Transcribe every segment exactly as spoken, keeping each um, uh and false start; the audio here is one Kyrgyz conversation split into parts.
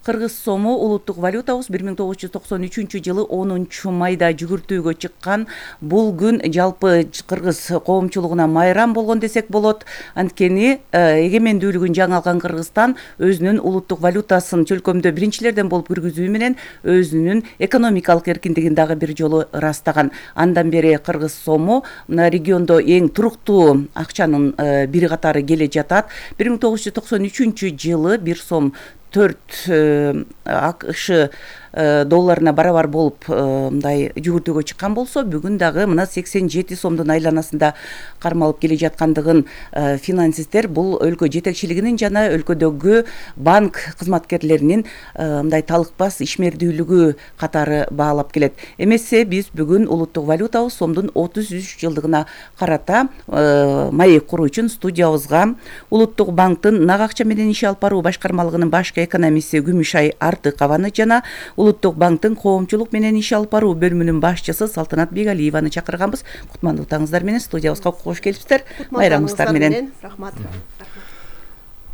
Кыргыз сому улуттук валютабыз бир миң тогуз жүз токсон үчүнчү жылы онунчу майда жүгүртүүгө чыккан. Бул күн жалпы кыргыз коомчулугуна майрам болгон десек болот. Анткени эгемендүүлүгүн жаңы алган Кыргызстан өзүнүн улуттук валютасын чөлкөмдө биринчилерден болуп киргизүү менен өзүнүн экономикалык эркиндигин дагы бир жолу ырастаган. Андан бери кыргыз сому мына региондо эң туруктуу акчанын бири катары келе жатат. бир миң тогуз жүз токсон үчүнчү жылы бир сом төрт АКШ долларына барабар болуп мындай жүгүртүүгө чыккан болсо, бүгүн дагы мына сексен жети сомдун айланасында кармалып келе жаткандыгын финансисттер бул өлкө жетекчилигинин жана өлкөдөгү банк кызматкерлеринин мындай талыкпас ишмердүүлүгү катары баалап келет. Эмесе биз бүгүн улуттук валютабыз сомдун отуз үч жылдыгына карата маек куруу үчүн студиябызга улуттук банктын нак акча менен иш алып баруу башкармалыгынын башкы экономисти Күмүшай Артыкованы жана улуттук банктын коомчулук менен иш алып баруу бөлүмүнүн башчысы Салтанат Бегалиеваны чакырганбыз. Кутмандуулугуңуздар менен студиябызга кош келипсиздер. Майрамыңыздар менен. Рахмат.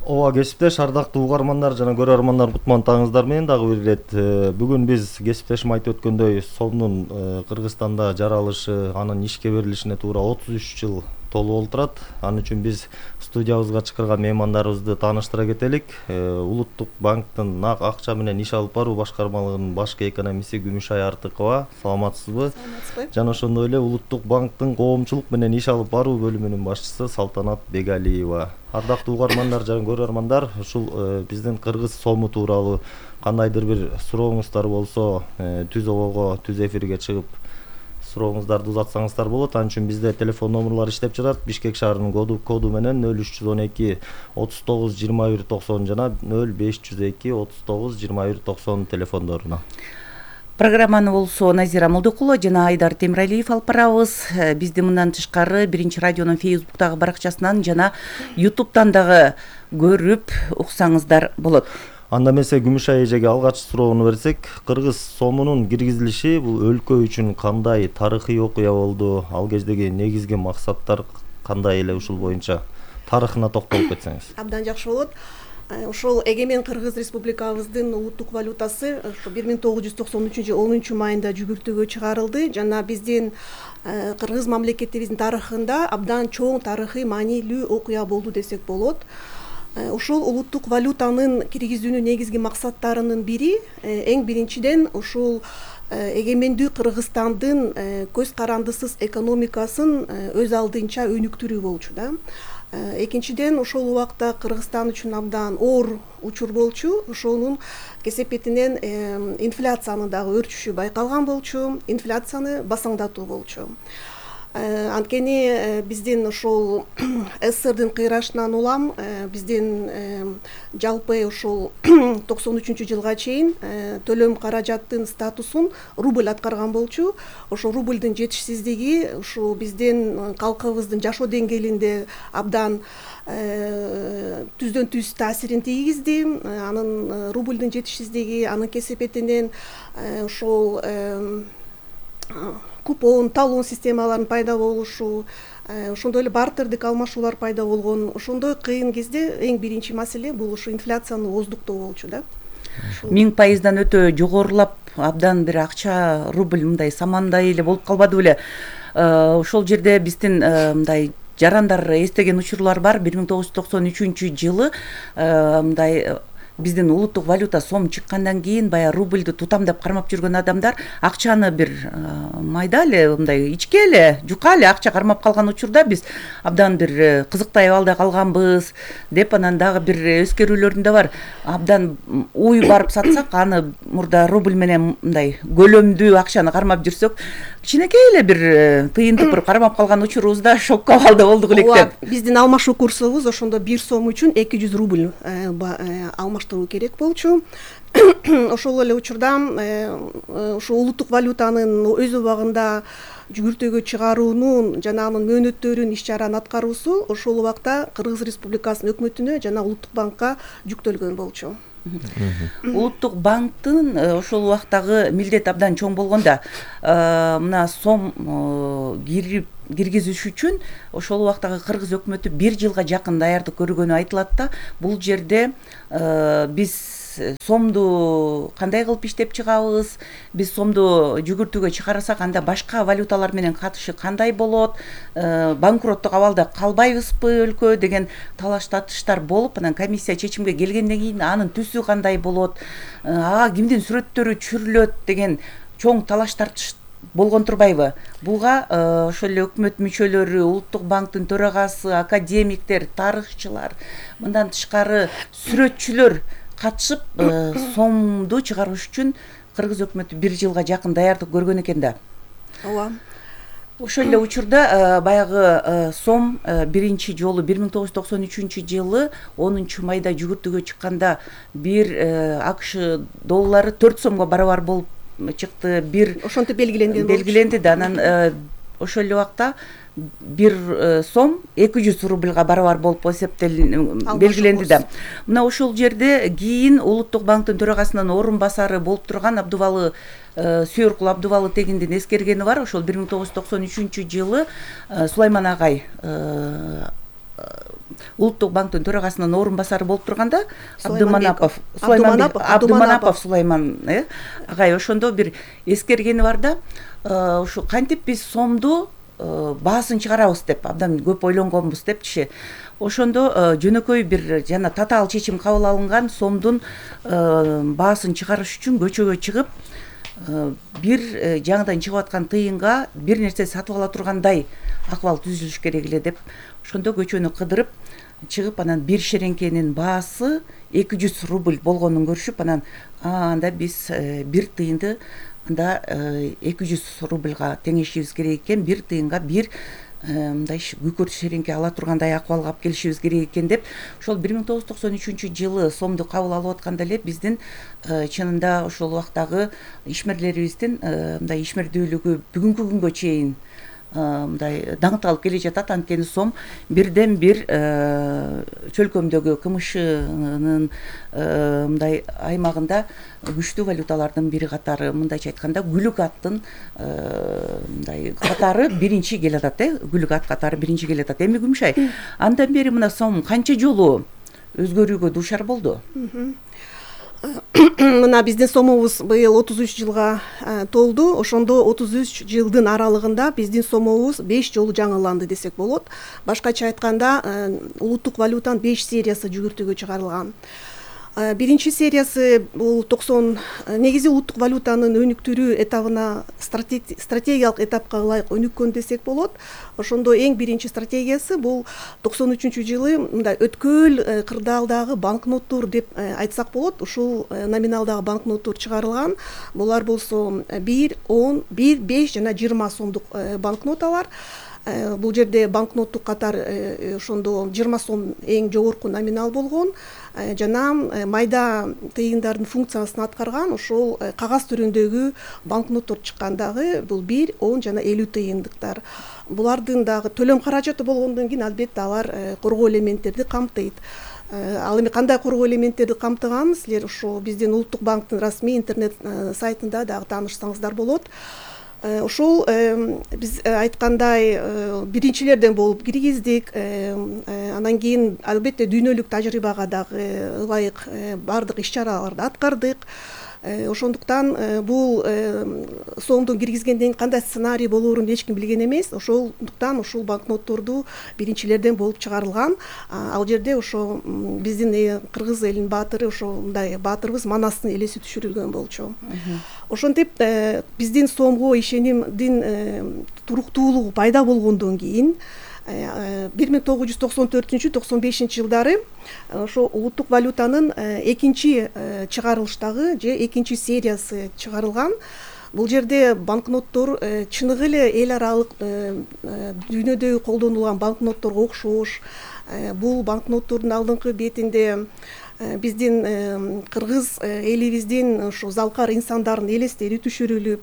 Ооба кесиптеш, ардактуу угармандар жана көрөрмандар, кутмандуулугуңуздар менен дагы бир ирет. Бүгүн биз кесиптешим айтып өткөндөй сомдун Кыргызстанда жаралышы, анын ишке берилишине туура отуз үч жыл толуп олтурат. Анын үчүн биз студиябызга чакырган меймандарыбызды тааныштыра кетелик. Улуттук банктын нак акча менен иш алып баруу башкармалыгынын башкы экономисти Күмүшай Артыкова. Саламатсызбы? Саламатсызбы. Жана ошондой эле улуттук банктын коомчулук менен иш алып баруу бөлүмүнүн башчысы Салтанат Бегалиева. Ардактуу угармандар жана көрөрмандар, ушул биздин кыргыз сому тууралуу кандайдыр бир сурооңуздар болсо, түз обого, түз эфирге чыгып сурооңуздарды узатсаңыздар болот. Анын үчүн бизде телефон номерлор иштеп жатат. Бишкек шаарынын коду коду менен нөл үч жүз он эки отуз тогуз жыйырма бир токсон жана нөл беш жүз эки отуз тогуз жыйырма бир токсон телефондоруна. Программаны болсо Назира Молдокулова жана Айдар Темиралиев алып барабыз. Бизди мындан тышкары Биринчи радионун Фейсбуктагы баракчасынан жана Ютубтан дагы көрүп уксаңыздар болот. Анда эмесе Күмүшай эжеге алгач суроону берсек, кыргыз сомунун киргизилиши бул өлкө үчүн кандай тарыхый окуя болду? Ал кездеги негизги максаттар кандай эле, ушул боюнча тарыхына токтолуп кетсеңиз. Абдан жакшы болот. Ошол эгемен Кыргыз Республикабыздын улуттук валютасы бир миң тогуз жүз токсон үчүнчү жылы онунчу майында жүгүртүүгө чыгарылды. Жана биздин кыргыз мамлекетибиздин тарыхында абдан чоң тарыхый маанилүү окуя болду десек болот. Ушул улуттук валютанын киргизүүнүн негизги максаттарынын бири эң биринчиден ушул эгемендүү Кыргызстандын көз карандысыз экономикасын өз алдынча өнүктүрүү болчу да. Экинчиден ошол убакта Кыргызстан үчүн абдан оор учур болчу. Ошонун кесепетинен инфляциянын дагы өрчүшү байкалган болчу. Инфляцияны басаңдатуу болчу. Анткени биздин ошол СССРдин кыйрашынан улам биздин жалпы ошол токсон үчүнчү жылга чейин төлөм каражаттын статусун рубль аткарган болчу. Ошол рубльдин жетишсиздиги ушул биздин калкыбыздын жашоо деңгээлинде абдан түздөн түз таасирин тийгизди. Анын рубльдин жетишсиздиги, анын кесепетинен ошол купон, талон системаларынын пайда болушу, ошондой эле бартердик алмашуулар пайда болгон. Ошондой кыйын кезде эң биринчи маселе бул ушу инфляцияны ооздуктоо болчу да. Миң пайыздан өтө жогорулап, абдан бир акча рубль мындай самандай эле болуп калбады беле. Ошол жерде биздин мындай жарандар эстеген учурлар бар. бир миң тогуз жүз токсон үчүнчү жылы мындай биздин улуттук валюта сом чыккандан кийин баягы рубльду тутамдап кармап жүргөн адамдар акчаны бир майда эле мындай ичке эле, жука эле акча кармап калган учурда биз абдан бир кызыктай абалда калганбыз деп анан дагы бир өскөрүүлөрүн да бар. Абдан уй барып сатсак, аны мурда рубль менен мындай көлөмдүү акчаны кармап жүрсөк, кичинекей эле бир тыйын тыпыр кармап калган учурубузда шокко абалда болдук элек деп. Биздин алмашуу курсубуз ошондо бир сом үчүн эки жүз рубль алмаштыруу керек болчу. Ошол эле учурда ошо улуттук валютанын өз убагында жүгүртүүгө чыгаруунун жана анын мөөнөттөрүн иш чараны аткаруусу ошол убакта Кыргыз Республикасынын өкмөтүнө жана улуттук банкка жүктөлгөн болчу. Улуттук банктын ошол убактагы милдет абдан чоң болгонда, мына сом кирип киргизиш үчүн ошол убактагы кыргыз өкмөтү бир жылга жакын даярдык көргөнү айтылат да. Бул жерде биз сомду кандай кылып иштеп чыгабыз, биз сомду жүгүртүүгө чыгарсак анда башка валюталар менен катышы кандай болот, банкроттук абалда калбайбызбы өлкө деген талаш тартыштар болуп, анан комиссия чечимге келгенден кийин анын түсү кандай болот, ага кимдин сүрөттөрү түшүрүлөт деген чоң талаш тартыш болгон турбайбы? Буга ошол эле өкмөт мүчөлөрү, Улуттук банктын төрагасы, академиктер, тарыхчылар, мындан тышкары сүрөтчүлөр катышып, сомду чыгарыш үчүн кыргыз өкмөтү бир жылга жакын даярдык көргөн экен да. Ооба. Ошол эле учурда баягы сом биринчи жолу бир миң тогуз жүз токсон үчүнчү жылы онунчу майда жүгүртүүгө чыкканда бир АКШ доллары төрт сомго барабар болуп чыкты. Бир ошентип белгиленген белгиленди да. Анан ошол эле убакта бир сом эки жүз рубльга барабар болуп эсептелин белгиленди да. Мына ошол жерде кийин Улуттук банктын төрагасынын орун басары болуп турган Абдубалы Сүйөркул Абдубалы Тегиндин эскергени бар. Ошол бир миң тогуз жүз токсон үчүнчү жылы Сулайман агай Улуттук банктын төрагасынын орун басары болуп турганда Абдыманапов Сулайман Абдыманапов Сулайман агай ошондо бир эскергени бар да. Ушу кантип биз сомду баасын чыгарабыз деп абдан көп ойлонгонбуз депчи. Ошондо жөнөкөй бир жана татаал чечим кабыл алынган, сомдун баасын чыгарыш үчүн көчөгө чыгып, бир жаңыдан чыгып аткан тыйынга бир нерсе сатып ала тургандай акыбал түзүлүш керек эле деп ошондо көчөнү кыдырып чыгып, анан бир шереңкенин баасы эки жүз рубль болгонун көрүшүп, анан анда биз бир тыйынды анда эки жүз рубльга теңешибиз керек экен, бир тыйынга бир мындай күкүрт шереңке ала тургандай акыбалга алып келишибиз керек экен деп, ошол бир миң тогуз жүз токсон үчүнчү жылы сомду кабыл алып атканда эле биздин чынында ошол убактагы ишмерлерибиздин мындай ишмердүүлүгү бүгүнкү күнгө чейин мындай даңкталып келе жатат. Анткени сом бирден бир чөлкөмдөгү КМШнын мындай аймагында күчтүү валюталардын бири катары, мындайча айтканда Гүлүк аттын мындай катары биринчи келатат, э, Гүлүк ат катары биринчи келатат. Эми Күмүшай, андан бери мына сом канча жолу өзгөрүүгө дуушар болду? Мына биздин сомубуз быйыл отуз үч жылга толду. Ошондо отуз үч жылдын аралыгында биздин сомубуз беш жолу жаңыланды десек болот. Башкача айтканда, улуттук валютанын беш сериясы жүгүртүүгө чыгарылган. Биринчи сериясы бул токсон негизи улуттук валютанын өнүктүрүү этабына, стратегиялык этапка ылайык өнүккөн десек болот. Ошондо эң биринчи стратегиясы бул токсон үчүнчү жылы мындай өткөл кырдаалдагы банкноттор деп айтсак болот. Ушул номиналдагы банкноттор чыгарылган. Булар болсо бир, он, бир, беш жана жыйырма сомдук банкноталар. Бул жерде банкноттук катар ошондо жыйырма сом эң жогорку номинал болгон. Жана майда тыйындардын функциясын аткарган ошол кагаз түрүндөгү банкноттор чыккандагы бул бир, он жана элүү тыйындыктар. Булардын дагы төлөм каражаты болгондон кийин албетте алар коргоо элементтерди камтыйт. Ал эми кандай коргоо элементтерди камтыганын силер ошо биздин Улуттук банктын расмий интернет сайтында дагы таанышсаңыздар болот. Ошол биз айткандай биринчилерден болуп киргиздик. Андан кийин албетте дүйнөлүк тажрыйбага дагы ылайык баардык иш-чараларды аткардык. Ошондуктан бул сомду киргизгенден кандай сценарий болоорун эч ким билген эмес. Ошондуктан ушул банкнотторду биринчилерден болуп чыгарылган. Ал жерде ошо биздин кыргыз элинин баатыры, ошондой баатырыбыз Манастын элеси түшүрүлгөн болчу. Ошентип биздин сомго ишенимдин туруктуулугу пайда болгондон кийин бир миң тогуз жүз токсон төртүнчү токсон бешинчи жылдары ошо улуттук валютанын экинчи чыгарылыштагы же экинчи сериясы чыгарылган. Бул жерде банкноттор чыныгы эле эл аралык дүйнөдө колдонулган банкнотторго окшош. Бул банкноттордун алдыңкы бетинде биздин кыргыз элибиздин ошо залкар инсандардын элестери түшүрүлүп,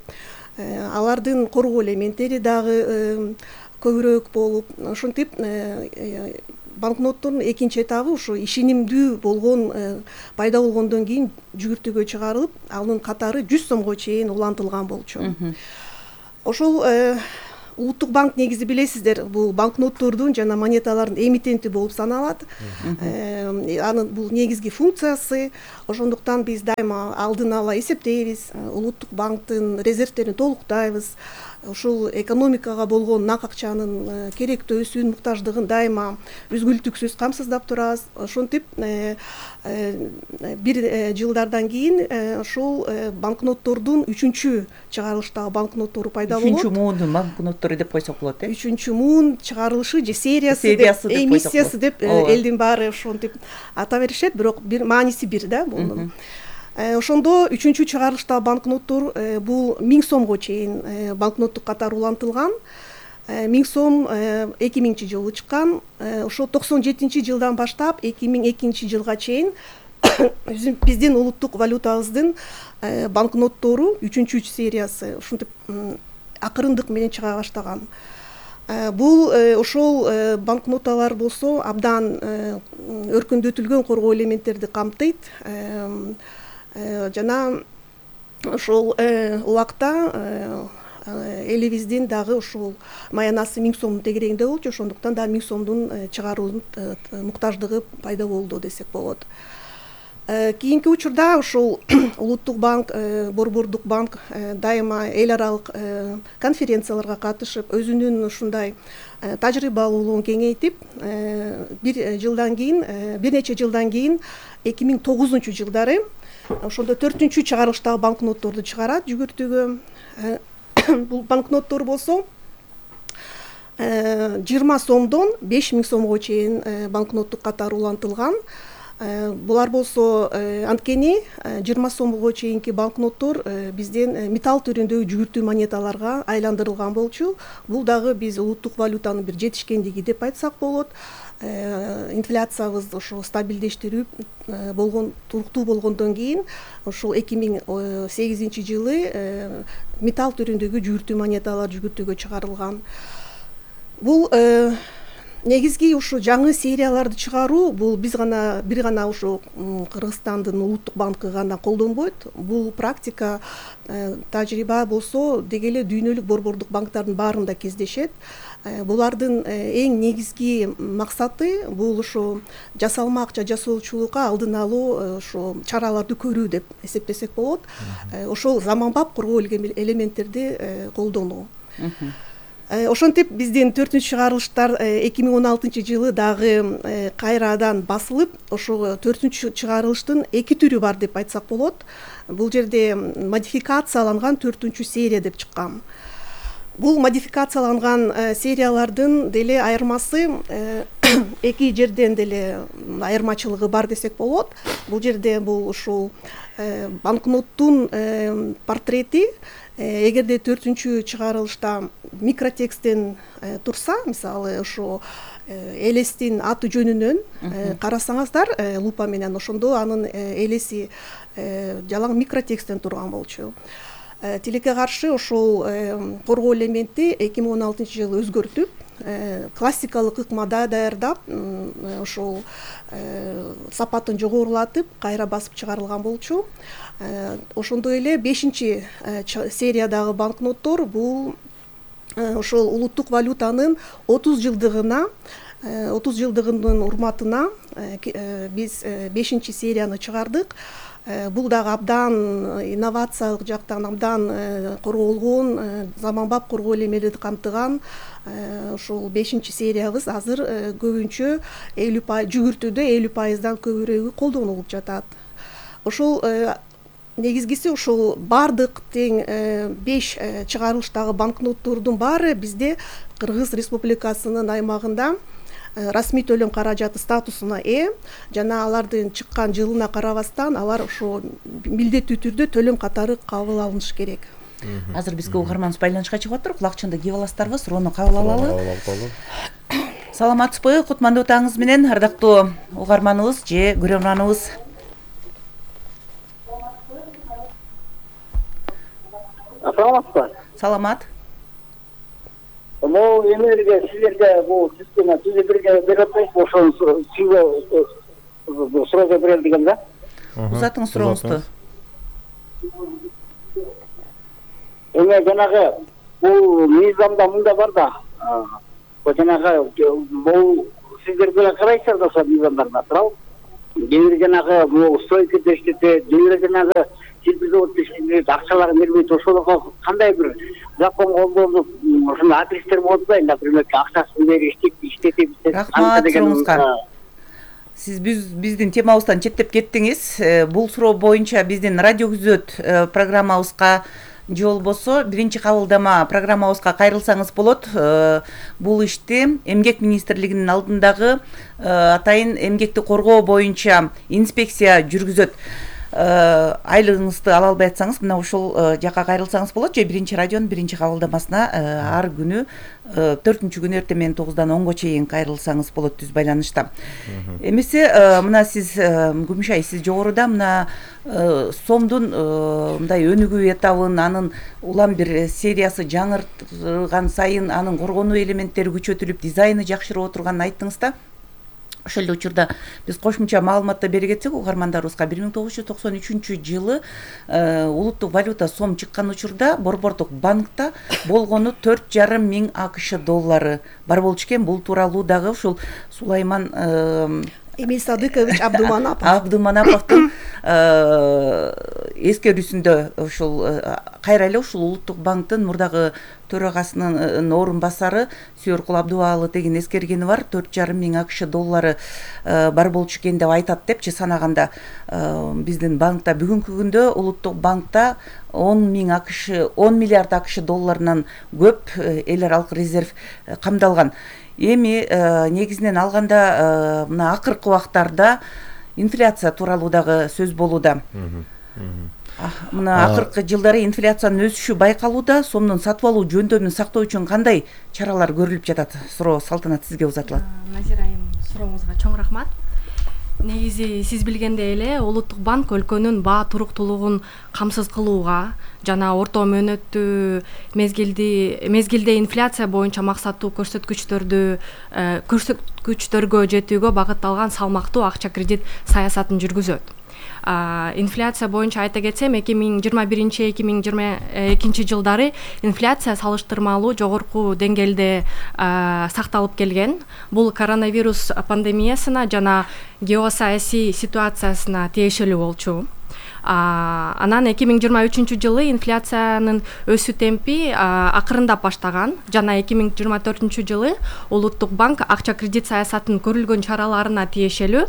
алардын коргоо элементтери дагы көбүрөөк болуп, ошентип банкноттордун экинчи этабы ушу ишенимдүү болгон пайда болгондон кийин жүгүртүүгө чыгарылып, анын катары жүз сомго чейин улантылган болчу. Ошол Улуттук банк негизи билесиздер, бул банкноттордун жана монеталардын эмитенти болуп саналат. Анын бул негизги функциясы ошондуктан биз дайыма алдын ала эсептейбиз, улуттук банктын резервдерин толуктайбыз. Ушул экономикага болгон нак акчанын керектүү өсүүнүн муктаждыгын дайыма үзгүлтүксүз камсыздап турабыз. Ошентип бир жылдардан кийин ушул банкноттордун үчүнчү чыгарылыштагы банкноттору пайда болот. Үчүнчү муундун банкноттору деп койсок болот, э? Үчүнчү муун чыгарылышы же сериясы деп, эмиссиясы деп элдин баары ошентип ата беришет, бирок бир мааниси бир да бунун. Ошондо үчүнчү чыгарылыштагы банкноттор бул миң сомго чейин банкноттук катары улантылган. миң сом эки миңинчи жылы чыккан. Ошо токсон жетинчи жылдан баштап эки миң экинчи жылга чейин биздин улуттук валютабыздын банкноттору үчүнчү сериясы ушинтип акырындык менен чыга баштаган. Бул ошол банкноталар болсо абдан өркүндөтүлгөн коргоо элементтерди камтыйт. Жана ошол убакта элибиздин дагы ушул маянасы миң сомдун тегерегинде болчу, ошондуктан да миң сомдун чыгаруунун муктаждыгы пайда болду десек болот. Кийинки учурда ушул улуттук банк, борбордук банк дайыма эл аралык конференцияларга катышып, өзүнүн ушундай тажрыйбалуулугун кеңейтип, бир жылдан кийин, бир нече жылдан кийин эки миң тогузунчу жылдары ошондо төртүнчү чыгарылыштагы банкнотторду чыгарат жүгүртүүгө. Бул банкноттор болсо жыйырма сомдон беш миң сомго чейин банкноттук катары улантылган. Булар болсо анткени жыйырма сомго чейинки банкноттор бизден металл түрүндөгү жүгүртүү монеталарга айландырылган болчу. Бул дагы биз улуттук валютанын бир жетишкендиги деп айтсак болот. Инфляциябызды ошо стабилдештирип болгон, туруктуу болгондон кийин ошол эки миң сегизинчи жылы металл түрүндөгү жүгүртүү монеталар жүгүртүүгө чыгарылган. Бул негизги ушу жаңы серияларды чыгаруу бул биз гана бир гана ушу Кыргызстандын улуттук банкы гана колдонбойт. Бул практика, тажрыйба болсо деги эле дүйнөлүк борбордук банктардын баарында кездешет. Булардын эң негизги максаты бул ошо жасалма акча жасоочулукка алдын алуу ошо чараларды көрүү деп эсептесек болот. Ошол заманбап коргоо элементтерди колдонуу. Ошентип биздин төртүнчү чыгарылыштар эки миң он алтынчы жылы дагы кайрадан басылып, ошо төртүнчү чыгарылыштын эки түрү бар деп айтсак болот. Бул жерде модификацияланган төртүнчү серия деп чыккан. Бул модификацияланган сериялардын деле айырмасы эки жерден деле айырмачылыгы бар десек болот. Бул жерде бул ушул банкноттун портрети эгерде төртүнчү чыгарылышта микротексттен турса, мисалы ошо элестин аты жөнүнөн карасаңыздар лупа менен, ошондо анын элеси жалаң микротексттен турган болчу. Тилекке каршы ошол коргоо элементи эки миң он алтынчы жылы өзгөртүп, классикалык ыкмада даярдап, ошол сапатын жогорулатып, кайра басып чыгарылган болчу. Ошондой эле бешинчи сериядагы банкноттор бул ошол улуттук валютанын отуз жылдыгына, отуз жылдыгынын урматына биз бешинчи серияны чыгардык. Бул дагы абдан инновациялык жактан абдан корголгон, заманбап коргоо элемелерди камтыган ошол бешинчи сериябыз азыр көбүнчө элүү пайыз жүгүртүүдө элүү пайыздан көбүрөөгү колдонулуп жатат. Ошол негизгиси ошол бардык тең беш чыгарылыштагы банкноттордун баары бизде Кыргыз Республикасынын аймагында расмий төлөм каражаты статусуна ээ, жана алардын чыккан жылына карабастан алар ошо милдеттүү түрдө төлөм катары кабыл алынышы керек. Азыр бизге угарманыбыз байланышка чыгып атыр. Кулакчынды кийип аласыздарбы? Суроону кабыл алалы. Саламатсызбы? Кутмандуу таңыңыз менен, ардактуу угарманыбыз же көрөрманыбыз. Саламатсызбы? Саламат. Бул эмелерге силерге бул система түзүп берип атпайсызбы? Ошону сүйгө суроо берели деген да. Узатыңыз сурооңузду. Эме жанагы бул мыйзамда мында бар да. Бул жанагы бул сиздер деле карайсыздар да ошо мыйзамдарга туурабы? кээ бир жанагы бул стойкада иштетет, кээ бир жанагы силпи заводдо иштетет, акчаларын бербейт. Ошолорго кандай бир закон колдонуп ушундай адрестер болот да, например, акчасын берип иштетип рахмат сурооңузга. Сиз биздин темабыздан четтеп кеттиңиз. Бул суроо боюнча биздин радио күзөт программабызга же болбосо биринчи кабылдама программабызга кайрылсаңыз болот. Бул ишти Эмгек министрлигинин алдындагы атайын эмгекти коргоо боюнча инспекция жүргүзөт. Айлыгыңызды ала албай атсаңыз мына ушул жака кайрылсаңыз болот, же биринчи радионун биринчи кабылдамасына ар күнү төртүнчү күнү эртең менен тогуздан онго чейин кайрылсаңыз болот түз байланышта. Эмесе мына сиз Күмүшай, сиз жогоруда мына сомдун мындай өнүгүү этабын, анын улам бир сериясы жаңырган сайын анын коргонуу элементтери күчөтүлүп, дизайны жакшырып отурганын айттыңыз да. Ошол эле учурда биз кошумча маалыматты бере кетсек угармандарыбызга, бир миң тогуз жүз токсон үчүнчү жылы улуттук валюта сом чыккан учурда Борбордук банкта болгону төрт жарым миң АКШ доллары бар болчу экен. Бул тууралуу дагы ушул Сулайман Эмиль Садыкович Абдуманапов Абдуманаповдун эскерүүсүндө ушул кайра эле ушул улуттук банктын мурдагы төрагасынын орун басары Сүйөркул Абдубаалы деген эскергени бар. төрт жарым миң АКШ доллары бар болчу экен деп айтат депчи санаганда. Биздин банкта бүгүнкү күндө улуттук банкта он миң АКШ он миллиард АКШ долларынан көп эл аралык резерв камдалган. Эми негизинен алганда мына акыркы убактарда инфляция тууралуу дагы сөз болууда. Мына акыркы жылдары инфляциянын өсүшү байкалууда. Сомдун сатып алуу жөндөмүн сактоо үчүн кандай чаралар көрүлүп жатат? Суроо Салтанат сизге узатылат. Назира айым, сурооңузга чоң рахмат. Негизи сиз билгендей эле улуттук банк өлкөнүн баа туруктуулугун камсыз кылууга жана орто мөөнөттүү мезгилди мезгилде инфляция боюнча максаттуу көрсөткүчтөрдү көрсөткүчтөргө жетүүгө багытталган салмактуу акча кредит саясатын жүргүзөт. Инфляция боюнча айта кетсем, эки миң жыйырма биринчи эки миң жыйырма экинчи жылдары инфляция салыштырмалуу жогорку деңгээлде сакталып келген. Бул коронавирус пандемиясына жана геосаясий ситуациясына тиешелүү болчу. Анан эки миң жыйырма үчүнчү жылы инфляциянын өсүү темпи акырындап баштаган жана эки миң жыйырма төртүнчү жылы улуттук банк акча кредит саясатынын көрүлгөн чараларына тиешелүү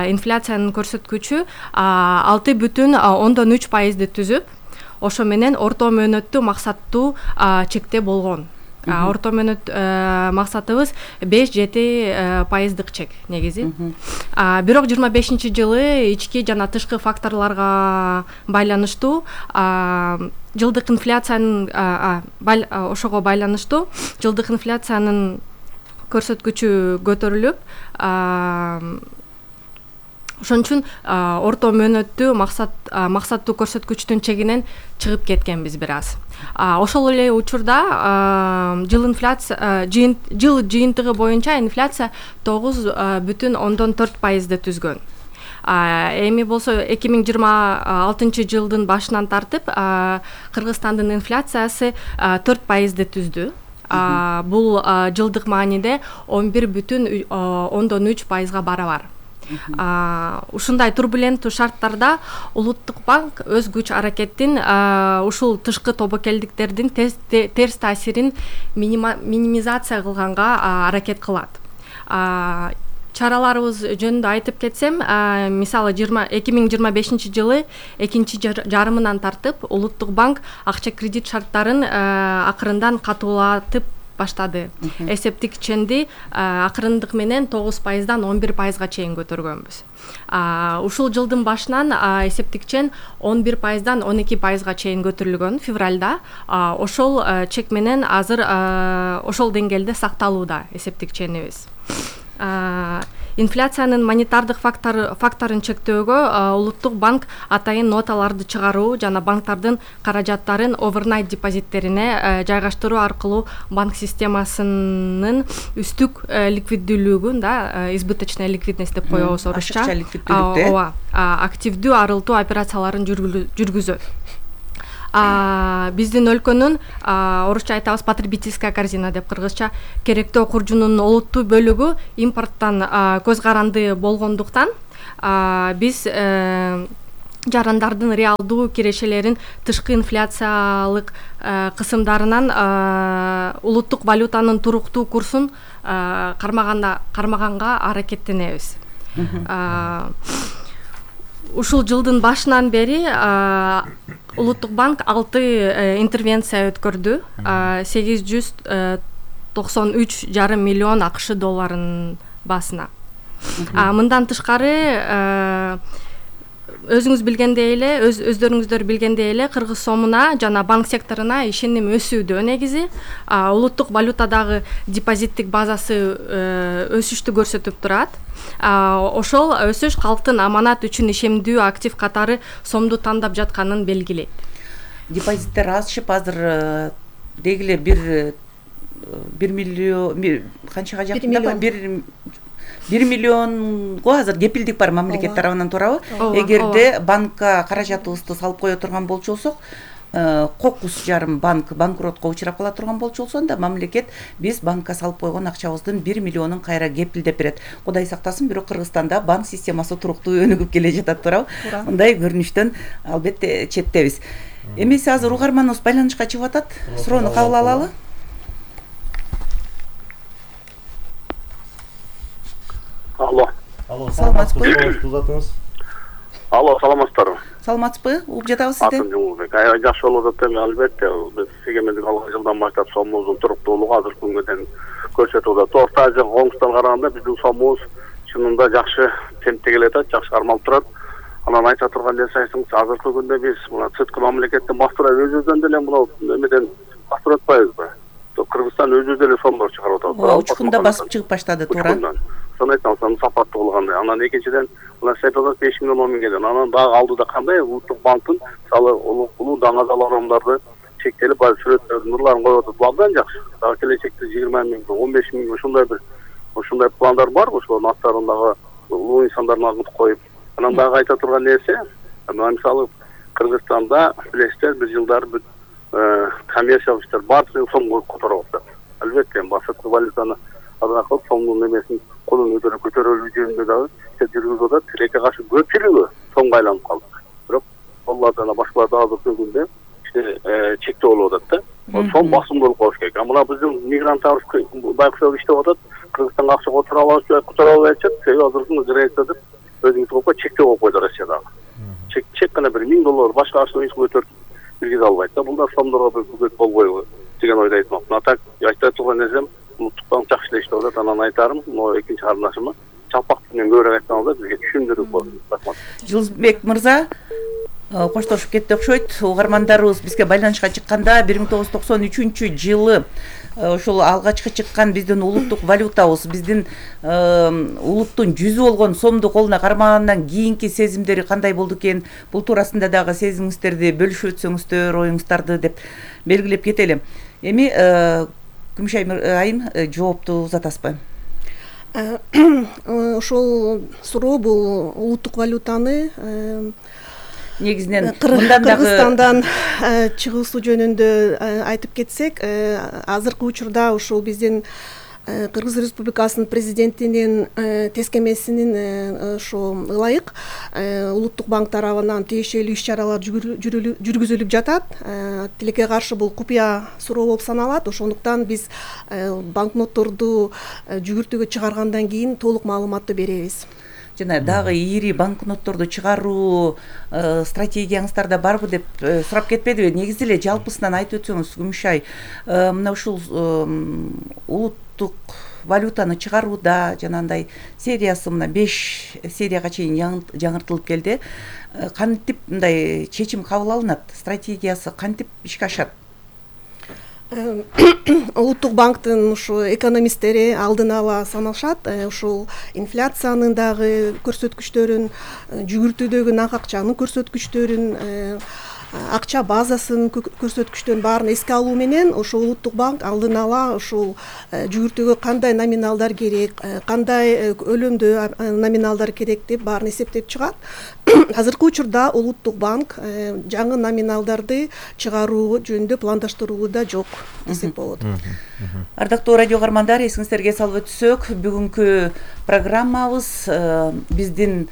инфляциянын көрсөткүчү алты бүтүн ондон үч пайызды түзүп, ошо менен орто мөөнөттүү максаттуу чекте болгон. Орто мөөнөт максатыбыз беш жети пайыздык чек негизи. Бирок жыйырма бешинчи жылы ички жана тышкы факторлорго байланыштуу жылдык инфляциянын ошого байланыштуу жылдык инфляциянын көрсөткүчү көтөрүлүп, ошон үчүн орто мөөнөттүү максат максаттуу көрсөткүчтүн чегинен чыгып кеткенбиз бир аз. Ошол эле учурда жыл инфляция жыл жыйынтыгы боюнча инфляция тогуз бүтүн ондон төрт пайызды түзгөн. Эми болсо эки миң жыйырма алтынчы жылдын башынан тартып Кыргызстандын инфляциясы төрт пайызды түздү. Бул жылдык мааниде он бир бүтүн ондон үч пайызга барабар. Ушундай турбуленттүү шарттарда улуттук банк өз күч аракетин ушул тышкы тобокелдиктердин терс таасирин минимизация кылганга аракет кылат. Чараларыбыз жөнүндө айтып кетсем, мисалы эки миң жыйырма бешинчи жылы экинчи жарымынан тартып улуттук банк акча кредит шарттарын акырындан катуулатып баштады. Эсептик ченди акырындык менен тогуз пайыздан он бир пайызга чейин көтөргөнбүз. Ушул жылдын башынан эсептик чен он бир пайыздан он эки пайызга чейин көтөрүлгөн февралда. Ошол чек менен азыр ошол деңгээлде сакталууда эсептик ченибиз. Инфляциянын монетардык факторун чектөөгө улуттук банк атайын ноталарды чыгаруу жана банктардын каражаттарын овернайт депозиттерине жайгаштыруу аркылуу банк системасынын үстүк ликвиддүүлүгүн, да, избыточная ликвидность деп коебуз орусча, ооба, активдүү арылтуу операцияларын жүргүзөт. Биздин өлкөнүн орусча айтабыз потребительская корзина деп, кыргызча керектөө куржунун олуттуу бөлүгү импорттон көз каранды болгондуктан биз жарандардын реалдуу кирешелерин тышкы инфляциялык кысымдарынан улуттук валютанын туруктуу курсун кармаганда кармаганга аракеттенебиз. Ушул жылдын башынан бери Улуттук банк алты интервенция өткөрдү. сегиз жүз токсон үч жарым миллион АКШ долларын басына. Мындан тышкары өзүңүз билгендей эле, өз өздөрүңүздөр билгендей эле Кыргыз сомуна жана банк секторуна ишеним өсүүдө. Негизи улуттук валютадагы депозиттик базасы өсүштү көрсөтүп турат. Ошол өсүш калктын аманат үчүн ишемдүү актив катары сомду тандап жатканын белгилейт. Депозиттер ашып азыр дегиле бир бир миллион канчага жакында бир бир миллионго азыр кепилдик бар мамлекет тарабынан туурабы? Эгерде банкка каражатыбызды салып кое турган болчусок, кокус жарым банк банкротко учурап кала турган болчу да мамлекет биз банкка салып койгон акчабыздын бир миллионун кайра кепилдеп берет. Кудай сактасын, бирок Кыргызстанда банк системасы туруктуу өнүгүп келе жатат туурабы? Мындай көрүнүштөн албетте четтебиз. Эмесе азыр угарманыбыз байланышка чыгып атат. Суроону кабыл алалы. Алло. Алло, саламатсызбы? Алло, саламатсыздарбы? Саламатсызбы? Угуп жатабыз сизди. Атым Жумурбек. Аябай жакшы болуп атат эми, албетте. Биз эгемендик алган жылдан баштап сомубуздун туруктуулугу азыркы күнгө чейин көрсөтүп атат. Орто Азия коңгустан караганда биздин сомубуз чынында жакшы темпте келет, жакшы кармалып турат. Анан айта турган нерсеңиз, азыркы күндө биз мына сырткы мамлекеттен бастырып өзүбүздөн деле мына эмеден бастырып атпайбызбы? Кыргызстан өзү деле сомдор чыгарып атат. Учкунда басып чыгып баштады, туура. Сону айтсам, сону сапаттуу кылгандай. Анан экинчиден мына сепелер беш миллион он миңге деген. Анан дагы алдыда кандай улуттук банктын мисалы улуу даңазаларамдарды чектелип, баары сүрөттөрдүн нурларын коюп атат. Абдан жакшы. Дагы келечекте жыйырма миң, он беш миң ушундай бир ушундай пландар бар, ошолордун аттарындагы улуу инсандардын агыт коюп. Анан дагы айта турган нерсе, мына мисалы Кыргызстанда билесиздер бир жылдары бир коммерциялык иштер баардыгын сомго которуп атат. Албетте, сырткы валютаны азыркы сомдун эмесин колун өтөрүп көтөрөлүү жөнүндө дагы иштер жүргүзүп атат. Тилекке каршы көпчүлүгү сомго айланып калды. Бирок олар жана башкалар да азыркы күндө чектөө болуп атат да. Сом басым болуп калыш керек. А мына биздин мигранттарыбыз байкуштап иштеп атат. Кыргызстанга акча которо алабыз, которо албай атышат. Себеби азыркы границада өзүңүз коюп чектөө коюп койду Россиядагы. Чек чек гана бир миң доллар башка акчаны эч көтөрүп киргизе албайт да. Бул да сомдорго бир бүгөт болбойбу деген ойду айтмакмын. Атак айта турган нерсем, улуттук банк жакшы эле иштеп атат. Анан айтарым, могу экинчи карындашыма чалпак менен көбүрөөк айтканда бизге түшүндүрүп болду. Рахмат. Жылбек мырза, коштошуп кетти окшойт. Угармандарыбыз бизге байланышка чыкканда бир миң тогуз жүз токсон үчүнчү жылы ошол алгачкы чыккан биздин улуттук валютабыз, биздин улуттун жүзү болгон сомду колуна кармагандан кийинки сезимдери кандай болду экен? Бул туурасында дагы сезимиңиздерди бөлүшүп өтсөңүздөр, оюңуздарды деп белгилеп кетели. Эми Күмүшай айым жоопту узатасызбы? Ошол суроо бул улуттук валютаны негизинен Кыргызстандан чыгуусу жөнүндө айтып кетсек, азыркы учурда ушул биздин Кыргыз Республикасынын президентинин тескемесинин ошо ылайык улуттук банк тарабынан тиешелүү иш-чаралар жүргүзүлүп жатат. Тилекке каршы бул купуя суроо болуп саналат. Ошондуктан биз банкнотторду жүгүртүүгө чыгаргандан кийин толук маалыматты беребиз. Жана дагы ири банкнотторду чыгаруу стратегияңыздарда барбы деп сурап кетпедиби? Негизи эле жалпысынан айтып өтсөңүз, Күмүшай, мына ушул улуттук валютаны чыгарууда жанагындай сериясы мына беш серияга чейин жаңыртылып келди. Кантип мындай чечим кабыл алынат? Стратегиясы кантип ишке ашат? Улуттук банктын ушу экономисттери алдын ала санашат. Ушул инфляциянын дагы көрсөткүчтөрүн, жүгүртүүдөгү нак акчанын көрсөткүчтөрүн, акча базасынын көрсөткүчтөрүн баарын эске алуу менен ошол улуттук банк алдын ала ушул жүгүртүүгө кандай номиналдар керек, кандай өлөмдө номиналдар керек деп баарын эсептеп чыгат. Азыркы учурда улуттук банк жаңы номиналдарды чыгаруу жөнүндө пландаштырууда жок десек болот. Ардактуу радио угармандар, эсиңиздерге салып өтсөк, бүгүнкү программабыз биздин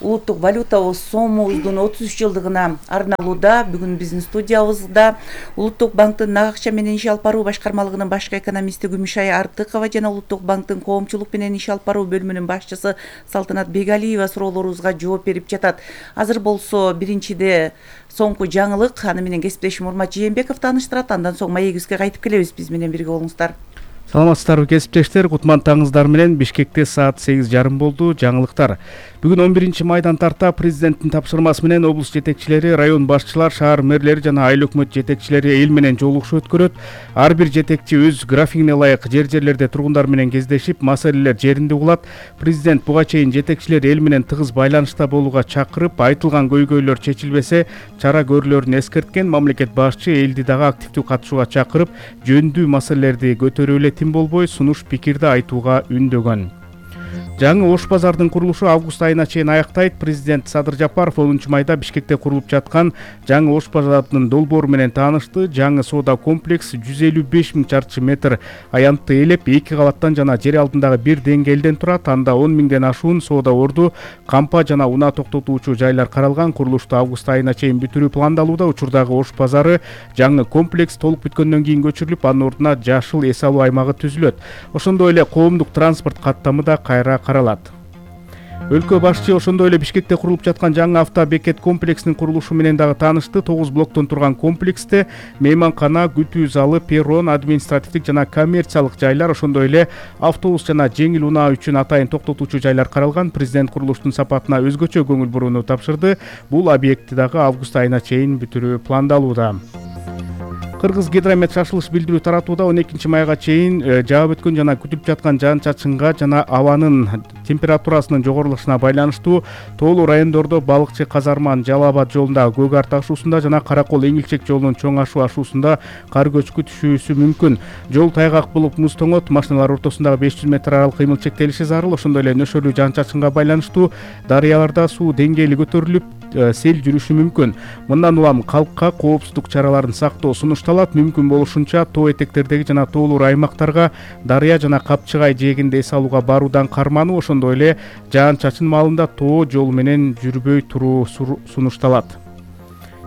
улуттук валютабыз сомубуздун отуз үч жылдыгына арналууда. Бүгүн биздин студиябызда Улуттук банктын нак акча менен иш алып баруу башкармалыгынын башкы экономисти Күмүшай Артыкова жана Улуттук банктын коомчулук менен иш алып баруу бөлүмүнүн башчысы Салтанат Бегалиева суроолорубузга жооп берип жатат. Азыр болсо биринчиде соңку жаңылык, аны менен кесиптешим Урмат Жээнбеков тааныштырат. Андан соң маегибизге кайтып келебиз. Биз менен бирге болуңуздар. Саламатсыздарбы кесиптештер, кутман таңыңыздар менен. Бишкекте саат сегиз жарым болду. Жаңылыктар. Бүгүн он биринчи майдан тарта президенттин тапшырмасы менен облус жетекчилери, район башчылар, шаар мэрлери жана айыл өкмөт жетекчилери эл менен жолугушуу өткөрөт. Ар бир жетекчи өз графигине ылайык жер-жерлерде тургундар менен кездешип, маселелер жеринде угулат. Президент буга чейин жетекчилер эл менен тыгыз байланышта болууга чакырып, айтылган көйгөйлөр чечилбесе, чара көрүлөрүн эскерткен. Мамлекет башчы элди дагы активдүү катышууга чакырып, жөндөүү маселелерди көтөрүү эле тим болбой, сунуш пикирди айтууга үндөгөн. Жаңы Ош базардын курулушу август айына чейин аяктайт. Президент Садыр Жапаров онунчу майда Бишкекте курулуп жаткан жаңы Ош базардын долбоору менен таанышты. Жаңы соода комплекс жүз элүү беш миң чарчы метр аянтты ээлеп, эки кабаттан жана жер алдындагы бир деңгээлден турат. Анда он миңден ашуун соода орду, кампа жана унаа токтотуучу жайлар каралган. Курулушту август айына чейин бүтүрүү пландалууда. Учурдагы Ош базары жаңы комплекс толук бүткөндөн кийин көчүрүлүп, анын ордуна жашыл эс алуу аймагы түзүлөт. Ошондой эле коомдук транспорт каттамы да кайра каралат. Өлкө башчы ошондой эле Бишкекте курулуп жаткан жаңы автобекет комплексинин курулушу менен дагы таанышты. тогуз блоктон турган комплексте мейманкана, күтүү залы, перрон, административдик жана коммерциялык жайлар, ошондой эле автобус жана жеңил унаа үчүн атайын токтотуучу жайлар каралган. Президент курулуштун сапатына өзгөчө көңүл бурууну тапшырды. Бул объектти дагы август айына чейин бүтүрүү пландалууда. Кыргыз гидромет шашылыш билдирүү таратууда. он экинчи майга чейин жаап өткөн жана күтүп жаткан жаан-чачынга жана абанын температурасынын жогорулушуна байланыштуу тоолуу райондордо Балыкчы Казарман Жалал Абад жолундагы Көк Арт ашуусунда жана Каракол Эңилчек жолунун Чоң Ашу ашуусунда кар көчкү түшүүсү мүмкүн. Жол тайгак болуп муз тоңот, машиналар ортосундагы беш жүз метр аралык кыймыл чектелиши зарыл. Ошондой эле нөшөрлүү жаан-чачынга байланыштуу дарыяларда суу деңгээли көтөрүлүп, сел жүрүшү мүмкүн. Мындан улам калкка коопсуздук чараларын сактоо сунушталат. Мүмкүн болушунча тоо этектердеги жана тоолуу аймактарга дарыя жана Капчыгай жээгинде эс алууга баруудан кармануу, ошондой эле жаан-чачын маалында тоо жол менен жүрбөй туруу сунушталат.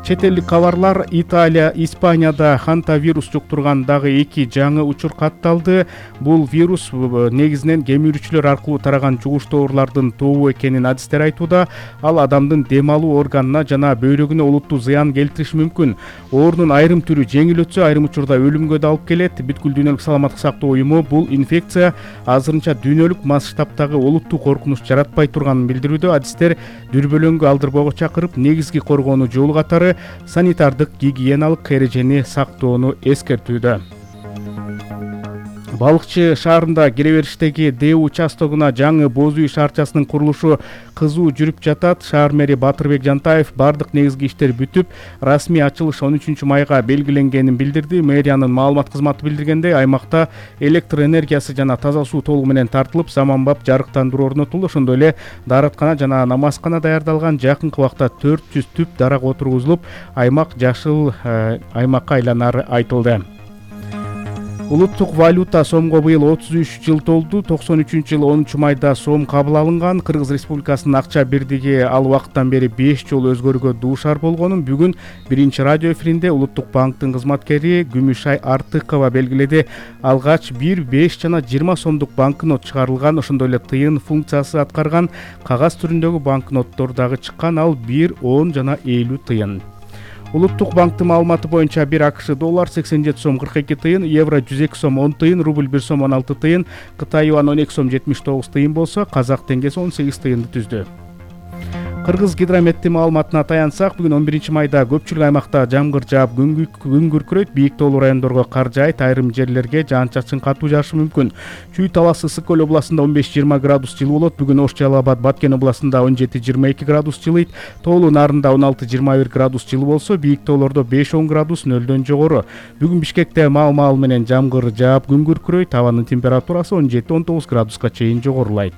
Чет элдик кабарлар. Италия, Испанияда ханта вирус жуктурган дагы эки жаңы учур катталды. Бул вирус негизинен кемирүүчүлөр аркылуу тараган жугуштуу оорулардын тобу экенин адистер айтууда. Ал адамдын дем алуу органына жана бөйрөгүнө олуттуу зыян келтириши мүмкүн. Оорунун айрым түрү жеңил өтсө, айрым учурда өлүмгө да алып келет. Бүткүл дүйнөлүк саламаттык сактоо уюму бул инфекция азырынча дүйнөлүк масштабтагы олуттуу коркунуч жаратпай турганын билдирүүдө. Адистер дүрбөлөңгү алдырбоого чакырып, негизги коргоону жолу катары санитардык гигиеналык эрежени сактоону эскертүүдө. Балыкчы шаарында киребериштеги Д участогуна жаңы боз үй шаарчасынын курулушу кызуу жүрүп жатат. Шаар мэри Батырбек Жантаев бардык негизги иштер бүтүп, расмий ачылыш он үчүнчү майга белгиленгенин билдирди. Мэриянын маалымат кызматы билдиргендей, аймакта электр энергиясы жана таза суу толугу менен тартылып, заманбап жарыктандыруу орнотулду. Ошондой эле даараткана жана намазкана даярдалган. Жакынкы убакта төрт жүз түп дарак отургузулуп, аймак жашыл аймакка айланары айтылды. Улуттук валюта сомго быйыл отуз үч жыл толду. токсон үчүнчү жылы онунчу майда сом кабыл алынган. Кыргыз Республикасынын акча бирдиги ал убакыттан бери беш жолу өзгөрүүгө дуушар болгонун бүгүн биринчи радио эфиринде Улуттук банктын кызматкери Күмүшай Артыкова белгиледи. Алгач бир, беш жана жыйырма сомдук банкнот чыгарылган. Ошондой эле тыйын функциясы аткарган кагаз түрүндөгү банкноттор дагы чыккан. Ал бир, он жана элүү тыйын. Улуттук банктын маалыматы боюнча бир АКШ доллар сексен жети сом кырк эки тыйын, евро жүз эки сом он тыйын, рубль бир сом он алты тыйын, Кытай юан он эки сом жетимиш тогуз тыйын болсо, казак теңгеси он сегиз тыйынды түздү. Кыргыз гидрометтин маалыматына таянсак, бүгүн он биринчи майда көпчүлүк аймакта жамгыр жаап, күн күркүрөйт, бийик тоолуу райондорго кар жаайт, айрым жерлерге жаан-чачын катуу жаашы мүмкүн. Чүй таласы Ысык көл областында он беш жыйырма градус жылуу болот. Бүгүн Ош Жалал Абад Баткен областында он жети жыйырма эки градус жылыйт. Тоолуу Нарында он алты жыйырма бир градус жылуу болсо, бийик тоолордо беш он градус нөлдөн жогору. Бүгүн Бишкекте маал-маал менен жамгыр жаап, күн күркүрөйт, абанын температурасы он жети он тогуз градуска чейин жогорулайт.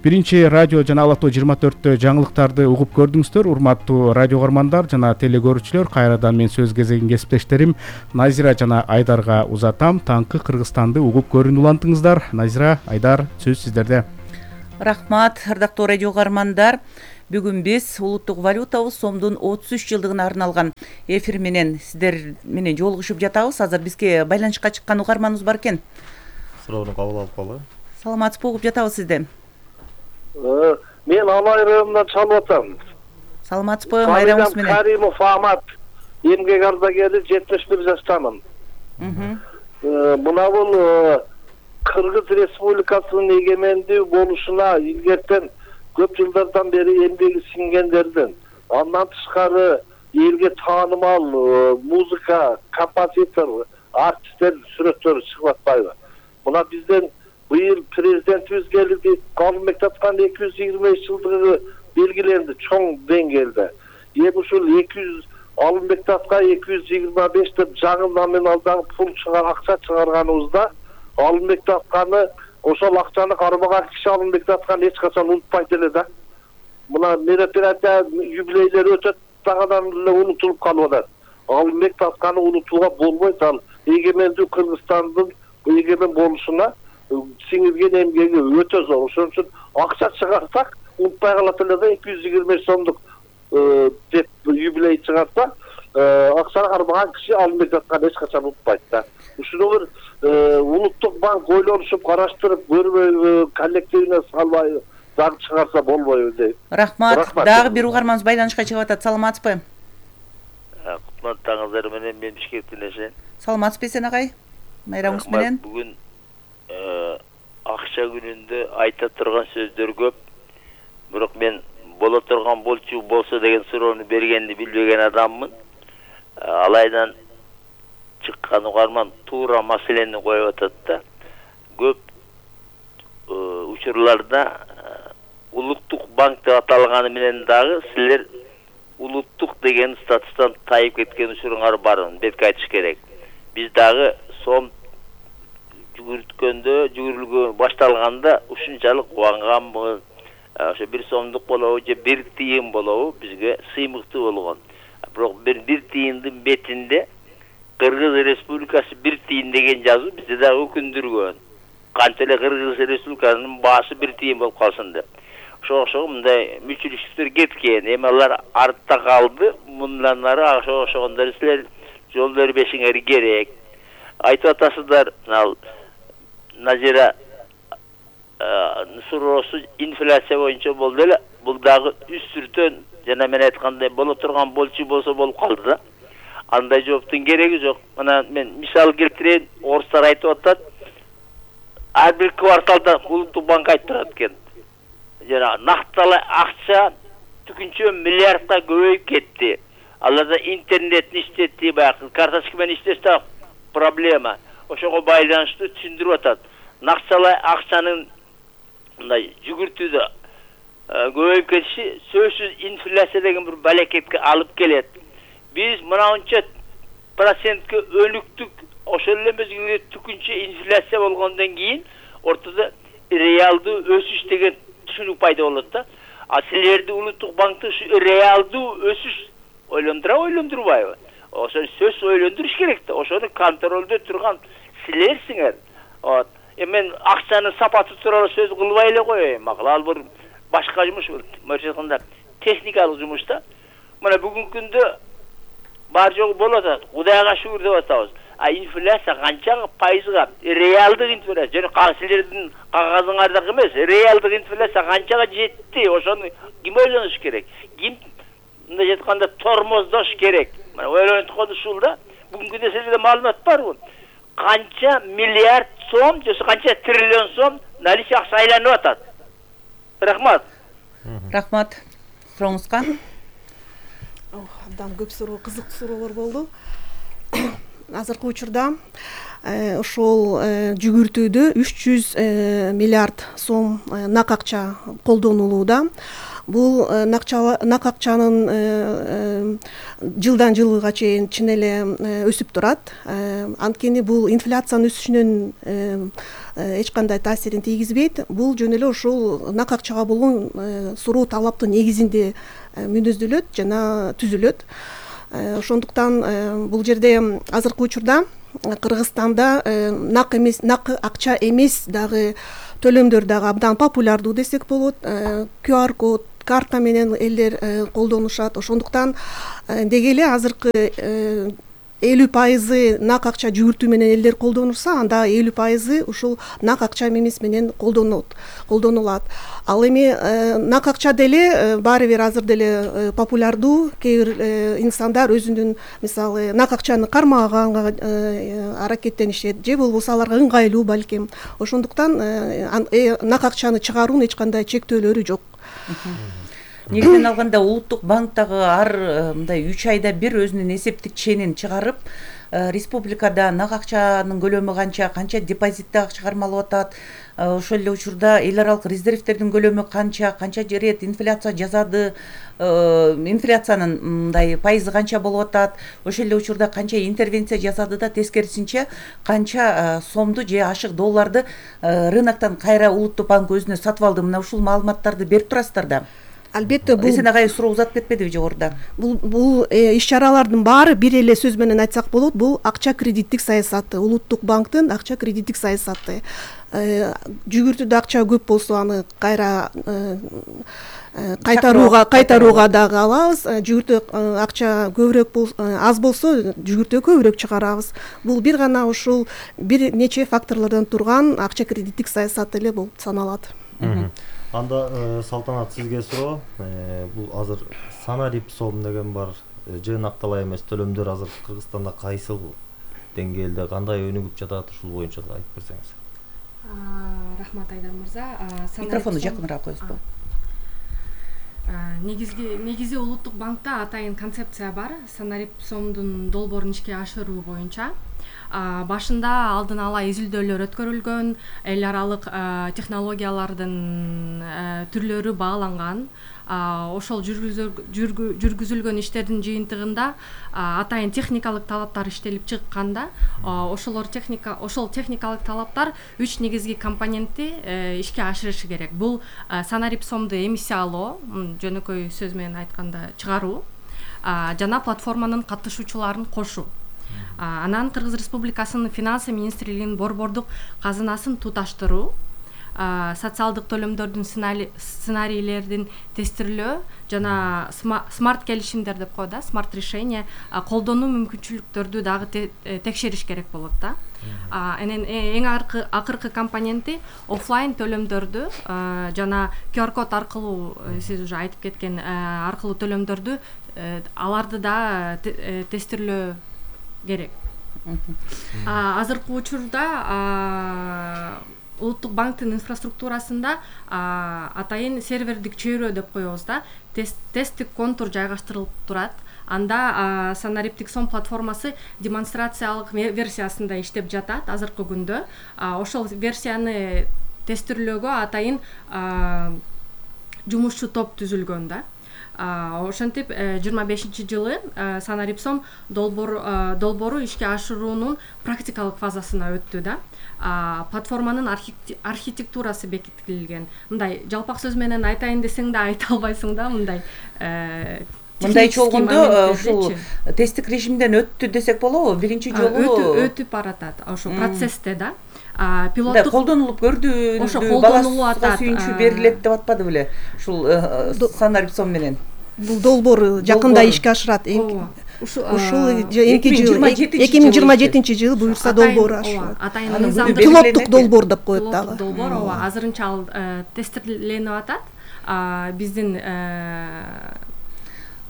Биринчи радио жана Ала тоо жыйырма төрттө жаңылыктарды угуп көрдүңүздөр. Урматтуу радио көрөрмандар жана телекөрүүчүлөр, кайрадан мен сөз кезегин кесиптештерим Назира жана Айдарга узатам. Таңкы Кыргызстанды угуп көрүүнү улантыңыздар. Назира, Айдар, сөз сиздерде. Рахмат, ардактуу радио көрөрмандар. Бүгүн биз улуттук валютабыз сомдун отуз үч жылдыгына арналган эфир менен сиздер менен жолугушуп жатабыз. Азыр бизге байланышка чыккан угарманыбыз бар экен. Суроону кабыл алып калалы. Саламатсызбы, угуп жатабыз сизди. Мен Алай районунан чалып атам. Саламатсызбы, майрамыңыз менен. Каримов Ахмат, эмгек ардагери, жетимиш бир жаштамын. Мына бул Кыргыз Республикасынын эгемендүү болушуна илгертен көп жылдардан бери эмгеги сиңгендердин, андан тышкары элге таанымал музыка, композитор, артисттер сүрөттөрү чыгып атпайбы? Мына бизден быйыл президентибиз келди, Калымбек Таткан эки жүз жыйырма беш жылдыгы белгиленди чоң деңгээлде. Эми ушул эки жүз Алымбек Татка эки жүз жыйырма беш деп жаңы номиналдагы пул чыгар, акча чыгарганыбызда Алымбек Татканы, ошол акчаны кармаган киши Алымбек Татканы эч качан унутпайт эле да. Мына мероприятия, юбилейлер өтөт, дагыдан эле унутулуп калып атат. Алымбек Татканы унутууга болбойт, ал эгемендүү Кыргызстандын эгемен болушуна сиңирген эмгеги өтө зор. Ошон үчүн акча чыгарсак унутпай калат эле да, эки жүз жыйырма беш сомдук деп юбилей чыгарса, акчаны кармаган киши Алымбек Татканы эч качан унутпайт да. Ушуну бир улуттук банк ойлонушуп, караштырып, көрбөйбү, коллективине салбай заң чыгарса болбойбу дейт. Рахмат. Дагы бир угарманыбыз байланышка чыгып атат. Саламатсызбы? Кутмандыгыңыздар менен мен Бишкектен эшен. Саламатсызбы Эсен агай? Майрамыңыз менен. Бүгүн акча күнүндө айта турган сөздөр көп. Бирок мен боло турган болчу болсо деген суроону бергенди билбеген адаммын. Алайдан чыккан угарман туура маселени коюп атат да. Көп учурларда улуттук банк деп аталганы менен дагы силер улуттук деген статустан тайып кеткен учуруңар барын бетке айтыш керек. Биз дагы сом жүгүрткөндө, жүгүрүлгө башталганда ушунчалык кубанганбыз. Ошо бир сомдук болобу же бир тыйын болобу бизге сыймыктуу болгон. Бирок бир бир тыйындын бетинде Кыргыз Республикасы бир тыйын деген жазуу бизди дагы өкүндүргөн. Канча эле Кыргыз Республикасынын баасы бир тыйын болуп калсын деп. Ошого окшогон мындай мүчүлүктөр кеткен. Эми алар артта калды. Мындан ары ошого окшогондор силер жол бербешиңер керек. Айтып атасыздар, ал Назира суроосу инфляция боюнча болду эле. Бул дагы үстүртөн жана мен айткандай боло турган болчу болсо болуп калды да. Андай жооптун кереги жок. Мына мен мисал келтирейин. Орустар айтып атат. Ар бир кварталда улуттук банк айтып турат экен. Жана накталай акча түкүнчө миллиардка көбөйүп кетти. Аларда интернетни иштетти, баягы карточка менен иштесе проблема. Ошого байланыштуу түшүндүрүп атат. Накталай акчанын мындай жүгүртүүдө көбөйүп кетиши сөзсүз инфляция деген бир балекетке алып келет. Биз мынанча процентке өнүктүк, ошол эле мезгилде түкүнчө инфляция болгондон кийин ортодо реалдуу өсүш деген түшүнүк пайда болот да. А силерди улуттук банкты ушу реалдуу өсүш ойлондура ойлондурбайбы? Ошо сөз ойлондуруш керек да. Ошону контролдо турган силерсиңер. Вот. Эми мен акчанын сапаты тууралуу сөз кылбай эле коеюн. Макул ал бир башка жумуш, мынча айтканда техникалык жумуш да. Мына бүгүнкү күндө бар жогу болот атат. Кудайга шүгүр деп атабыз. А инфляция канча пайызга? Реалдык инфляция. Жана силердин кагазыңарда эмес, реалдык инфляция канчага жетти? Ошону ким ойлонуш керек? Ким мындай айтканда тормоздош керек? Мына ойлонуп ушул да. Бүгүнкү күндө силерде маалымат барбы? Канча миллиард сом, же канча триллион сом наличие акча айланып атат? Рахмат. Рахмат. Сурооңузга. Абдан көп суроо, кызыктуу суроолор болду. Азыркы учурда ошол жүгүртүүдө үч жүз миллиард сом нак акча колдонулууда. Бул нак акчанын жылдан жылга чейин чын эле өсүп турат. Анткени бул инфляциянын өсүшүнөн эч кандай таасирин тийгизбейт. Бул жөн эле ошол нак акчага болгон суроо талаптын негизинде мүнөздөлөт жана түзүлөт. Ошондуктан бул жерде азыркы учурда Кыргызстанда нак эмес, нак акча эмес дагы төлөмдөр дагы абдан популярдуу десек болот. ку ар код, карта менен элдер колдонушат. Ошондуктан деги эле азыркы элүү пайызы нак акча жүгүртүү менен элдер колдонушса, анда элүү пайызы ушул нак акча эмес менен колдонот колдонулат. Ал эми нак акча деле баары бир азыр деле популярдуу. Кээ бир инсандар өзүнүн мисалы нак акчаны кармаганга аракеттенишет, же болбосо аларга ыңгайлуу балким. Ошондуктан нак акчаны чыгаруунун эч кандай чектөөлөрү жок. Негизинен алганда улуттук банктагы ар мындай үч айда бир өзүнүн эсептик ченин чыгарып, республикада нак акчанын көлөмү канча, канча депозитте акча кармалып атат, ошол эле учурда эл аралык резервтердин көлөмү канча, канча рет инфляция жасады, инфляциянын мындай пайызы канча болуп атат, ошол эле учурда канча интервенция жасады да, тескерисинче канча сомду же ашык долларды рыноктон кайра улуттук банк өзүнө сатып алды. Мына ушул маалыматтарды берип турасыздар да. Албетте, бул Эсен агай суроо узап кетпедиби жогоруда? Бул бул иш-чаралардын баары бир эле сөз менен айтсак болот, бул акча кредиттик саясаты, улуттук банктын акча кредиттик саясаты. Жүгүртүүдө акча көп болсо аны кайра кайтарууга кайтарууга дагы алабыз. Жүгүртүү акча көбүрөөк аз болсо жүгүртүү көбүрөөк чыгарабыз. Бул бир гана ушул бир нече факторлордон турган акча кредиттик саясат эле болуп саналат. Анда Салтанат, сизге суроо. Бул азыр санарип сом деген бар, жыйнакталай эмес төлөмдөр азыр Кыргызстанда кайсыл деңгээлде, кандай өнүгүп жатат, ушул боюнча да айтып берсеңиз. Рахмат Айдар мырза. Микрофонду жакыныраак коесузбу? Негизги негизи улуттук банкта атайын концепция бар, санарип сомдун долбоорун ишке ашыруу боюнча. Башында алдын ала изилдөөлөр өткөрүлгөн, эл аралык технологиялардын түрлөрү бааланган. Ошол жүргүзүлгөн иштердин жыйынтыгында атайын техникалык талаптар иштелип чыкканда, ошолор техника ошол техникалык талаптар үч негизги компонентти ишке ашырышы керек. Бул санарип сомду эмиссиялоо, жөнөкөй сөз менен айтканда чыгаруу, жана платформанын катышуучуларын кошуу. Анан Кыргыз Республикасынын финансы министрлигинин борбордук казынасын туташтыруу, социалдык төлөмдөрдүн сценарийлердин тестирлөө жана смарт келишимдер деп коет да, смарт решение колдонуу мүмкүнчүлүктөрдү дагы текшериш керек болот да. Анан эң акыркы компоненти офлайн төлөмдөрдү жана ку ар код аркылуу, сиз уже айтып кеткен аркылуу төлөмдөрдү, аларды да тестирлөө керек. Азыркы учурда улуттук банктын инфраструктурасында атайын сервердик чөйрө деп коебуз да, тесттик контур жайгаштырылып турат. Анда санариптик сом платформасы демонстрациялык версиясында иштеп жатат азыркы күндө. Ошол версияны тестирлөөгө атайын жумушчу топ түзүлгөн да. Ошентип жыйырма бешинчи жылы санарип сом долбоору ишке ашыруунун практикалык фазасына өттү да. Платформанын архитектурасы бекитилген. Мындай жалпак сөз менен айтайын десең да айта албайсың да, мындай мындайча болгондо ушул тесттик режимден өттү десек болобу? Биринчи жолу өтүп баратат ошол процессте да. Пилоттук колдонулуп көрдү, ошо колдонулуп атат, сүйүнчү берилет деп атпады беле ушул санарип сом менен? Бул долбоор жакында ишке ашырат. Ушул эки миң жыйырма жетинчи жылы буюрса долбоор ашырат. Атайын мыйзамдык пилоттук долбоор деп коет дагы. Долбоор ооба азырынча ал тестирленип атат. Биздин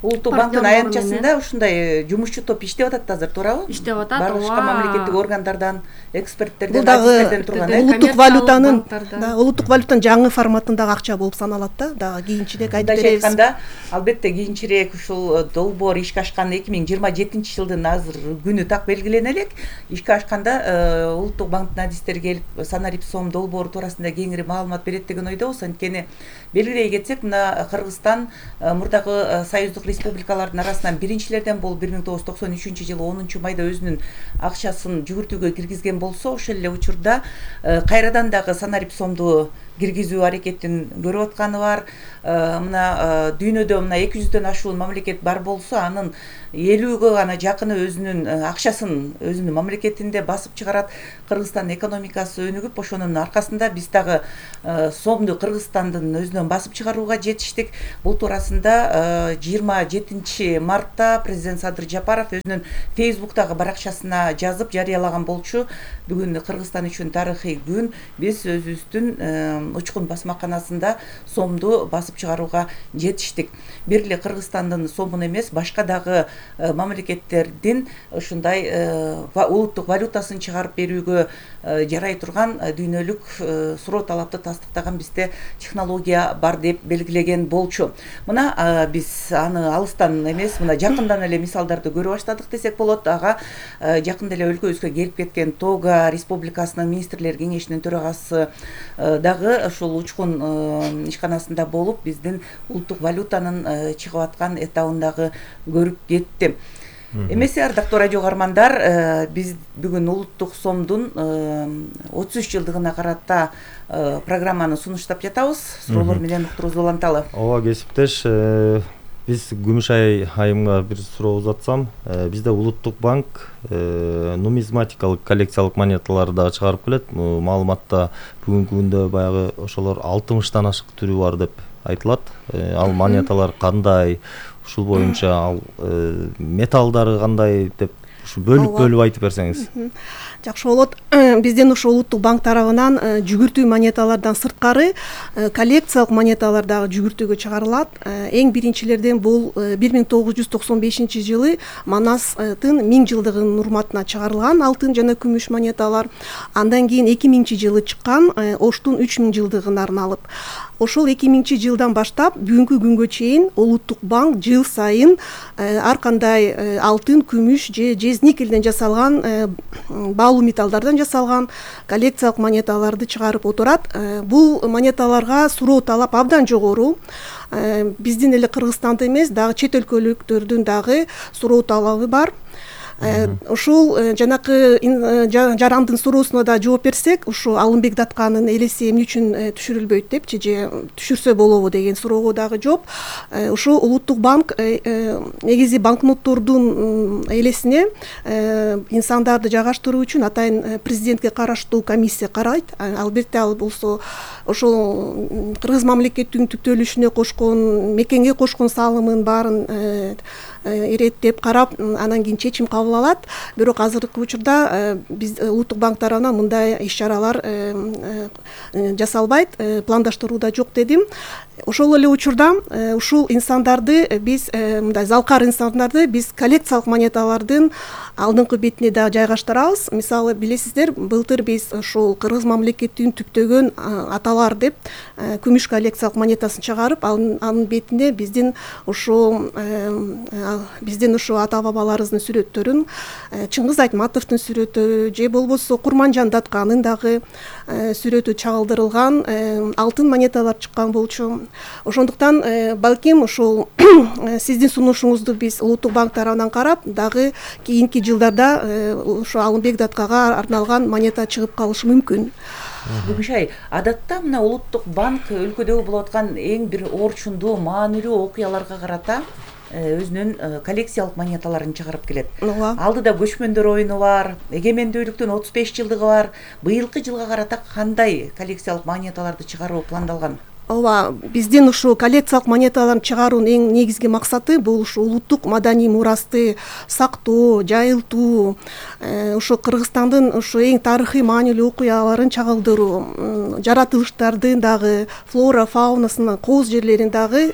улуттук банктын аянтчасында ушундай жумушчу топ иштеп атат азыр, туурабы? Иштеп атат. Башка мамлекеттик органдардан, эксперттерден, бул дагы турган улуттук валютанын, да, улуттук валютанын жаңы форматындагы акча болуп саналат да. Дагы кийинчерээк айтып беребиз. Айтканда, албетте кийинчерээк ушул долбоор ишке ашкан эки миң жыйырма жетинчи жылдын азыр күнү так белгилене элек. Ишке ашканда улуттук банктын адистери келип санарип сом долбоору туурасында кеңири маалымат берет деген ойдобуз. Анткени белгилей кетсек, мына Кыргызстан мурдагы союздук республикалардын арасынан биринчилерден болуп бир миң тогуз жүз токсон үчүнчү жылы онунчу майда өзүнүн акчасын жүгүртүүгө киргизген болсо, ошол эле учурда кайрадан дагы санарип сомду киргизүү аракетин көрүп атканы бар. Мына дүйнөдө мына эки жүздөн ашуун мамлекет бар болсо, анын элүүгө гана жакыны өзүнүн акчасын өзүнүн мамлекетинде басып чыгарат. Кыргызстандын экономикасы өнүгүп, ошонун аркасында биз дагы сомду Кыргызстандын өзүнөн басып чыгарууга жетиштик. Бул туурасында жыйырма жетинчи мартта президент Садыр Жапаров өзүнүн Фейсбуктагы баракчасына жазып жарыялаган болчу. Бүгүн Кыргызстан үчүн тарыхый күн. Биз өзүбүздүн учкун басмаканасында сомду басып чыгарууга жетиштик. Бир эле Кыргызстандын сомун эмес, башка дагы мамлекеттердин ушундай улуттук валютасын чыгарып берүүгө жарай турган дүйнөлүк суроо талапты тастыктаган бизде технология бар деп белгилеген болчу. Мына биз аны алыстан эмес, мына жакындан эле мисалдарды көрө баштадык десек болот. Ага жакында эле өлкөбүзгө келип кеткен Тога Республикасынын министрлер кеңешинин төрагасы дагы ушул учкун ишканасында болуп, биздин улуттук валютанын чыгып аткан этабын дагы көрүп кетти. Эмесе, ардактуу радио угармандар, биз бүгүн улуттук сомдун отуз үч жылдыгына карата программаны сунуштап жатабыз. Суроолор менен уктурубузду уланталы. Ооба, кесиптеш, биз Күмүшай айымга бир суроо узатсам, бизде улуттук банк нумизматикалык коллекциялык монеталарды дагы чыгарып келет. Маалыматта бүгүнкү күндө баягы ошолор алтымыштан ашык түрү бар деп айтылат. Ал монеталар кандай, ушул боюнча ал металлдары кандай деп ушу бөлүп бөлүп айтып берсеңиз. Жакшы болот. Бизден ошо улуттук банк тарабынан жүгүртүү монеталардан сырткары коллекциялык монеталар дагы жүгүртүүгө чыгарылат. Эң биринчилерден бул бир миң тогуз жүз токсон бешинчи жылы Манастын миң жылдыгынын урматына чыгарылган алтын жана күмүш монеталар. Андан кийин эки миңинчи жылы чыккан Оштун үч миң жылдыгына арналып. Ошол эки миңинчи жылдан баштап бүгүнкү күнгө чейин улуттук банк жыл сайын ар кандай алтын, күмүш же жез никелден жасалган баалуу металлдардан жасалган коллекциялык монеталарды чыгарып отурат. Бул монеталарга суроо талап абдан жогору. Биздин эле Кыргызстанда эмес, дагы чет өлкөлүктөрдүн дагы суроо талабы бар. Ушул жанакы жарандын суроосуна да жооп берсек, ушу Алымбек Датканын элеси эмне үчүн түшүрүлбөйт депчи, же түшүрсө болобу деген суроого дагы жооп. Ушу улуттук банк негизи банкноттордун элесине инсандарды жайгаштыруу үчүн атайын президентке караштуу комиссия карайт. Албетте ал болсо ошол Кыргыз мамлекетинин түптөлүшүнө кошкон, мекенге кошкон салымын баарын иреттеп карап, анан кийин чечим кабыл алат. Бирок азыркы учурда биз улуттук банк тарабынан мындай иш-чаралар жасалбайт, пландаштырууда жок дедим. Ошол эле учурда ушул инсандарды биз, мындай залкар инсандарды биз коллекциялык монеталардын алдыңкы бетине да жайгаштырабыз. Мисалы, билесиздер, былтыр биз ушул Кыргыз мамлекетинин түптөгөн аталар деп күмүш коллекциялык монетасын чыгарып, анын бетине биздин ушул биздин ушу ата бабаларыбыздын сүрөттөрүн, Чыңгыз Айтматовдун сүрөтү же болбосо Курманжан Датканын дагы сүрөтү чагылдырылган алтын монеталар чыккан болчу. Ошондуктан балким ушул сиздин сунушуңузду биз улуттук банк тарабынан карап, дагы кийинки жылдарда ошо Алымбек Даткага арналган монета чыгып калышы мүмкүн. Күмүшай, адатта мына улуттук банк өлкөдөгү болуп аткан эң бир орчундуу, маанилүү окуяларга карата өзүнүн коллекциялык монеталарын чыгарып келет. Алдыда көчмөндөр оюну бар, эгемендүүлүктүн отуз беш жылдыгы бар. Быйылкы жылга карата кандай коллекциялык монеталарды чыгаруу пландалган? Ооба, биздин ушу коллекциялык монеталарын чыгаруунун эң негизги максаты бул ушу улуттук маданий мурасты сактоо, жайылтуу, ушу Кыргызстандын ушу эң тарыхый маанилүү окуяларын чагылдыруу, жаратылыштардын дагы флора, фаунасынын кооз жерлерин дагы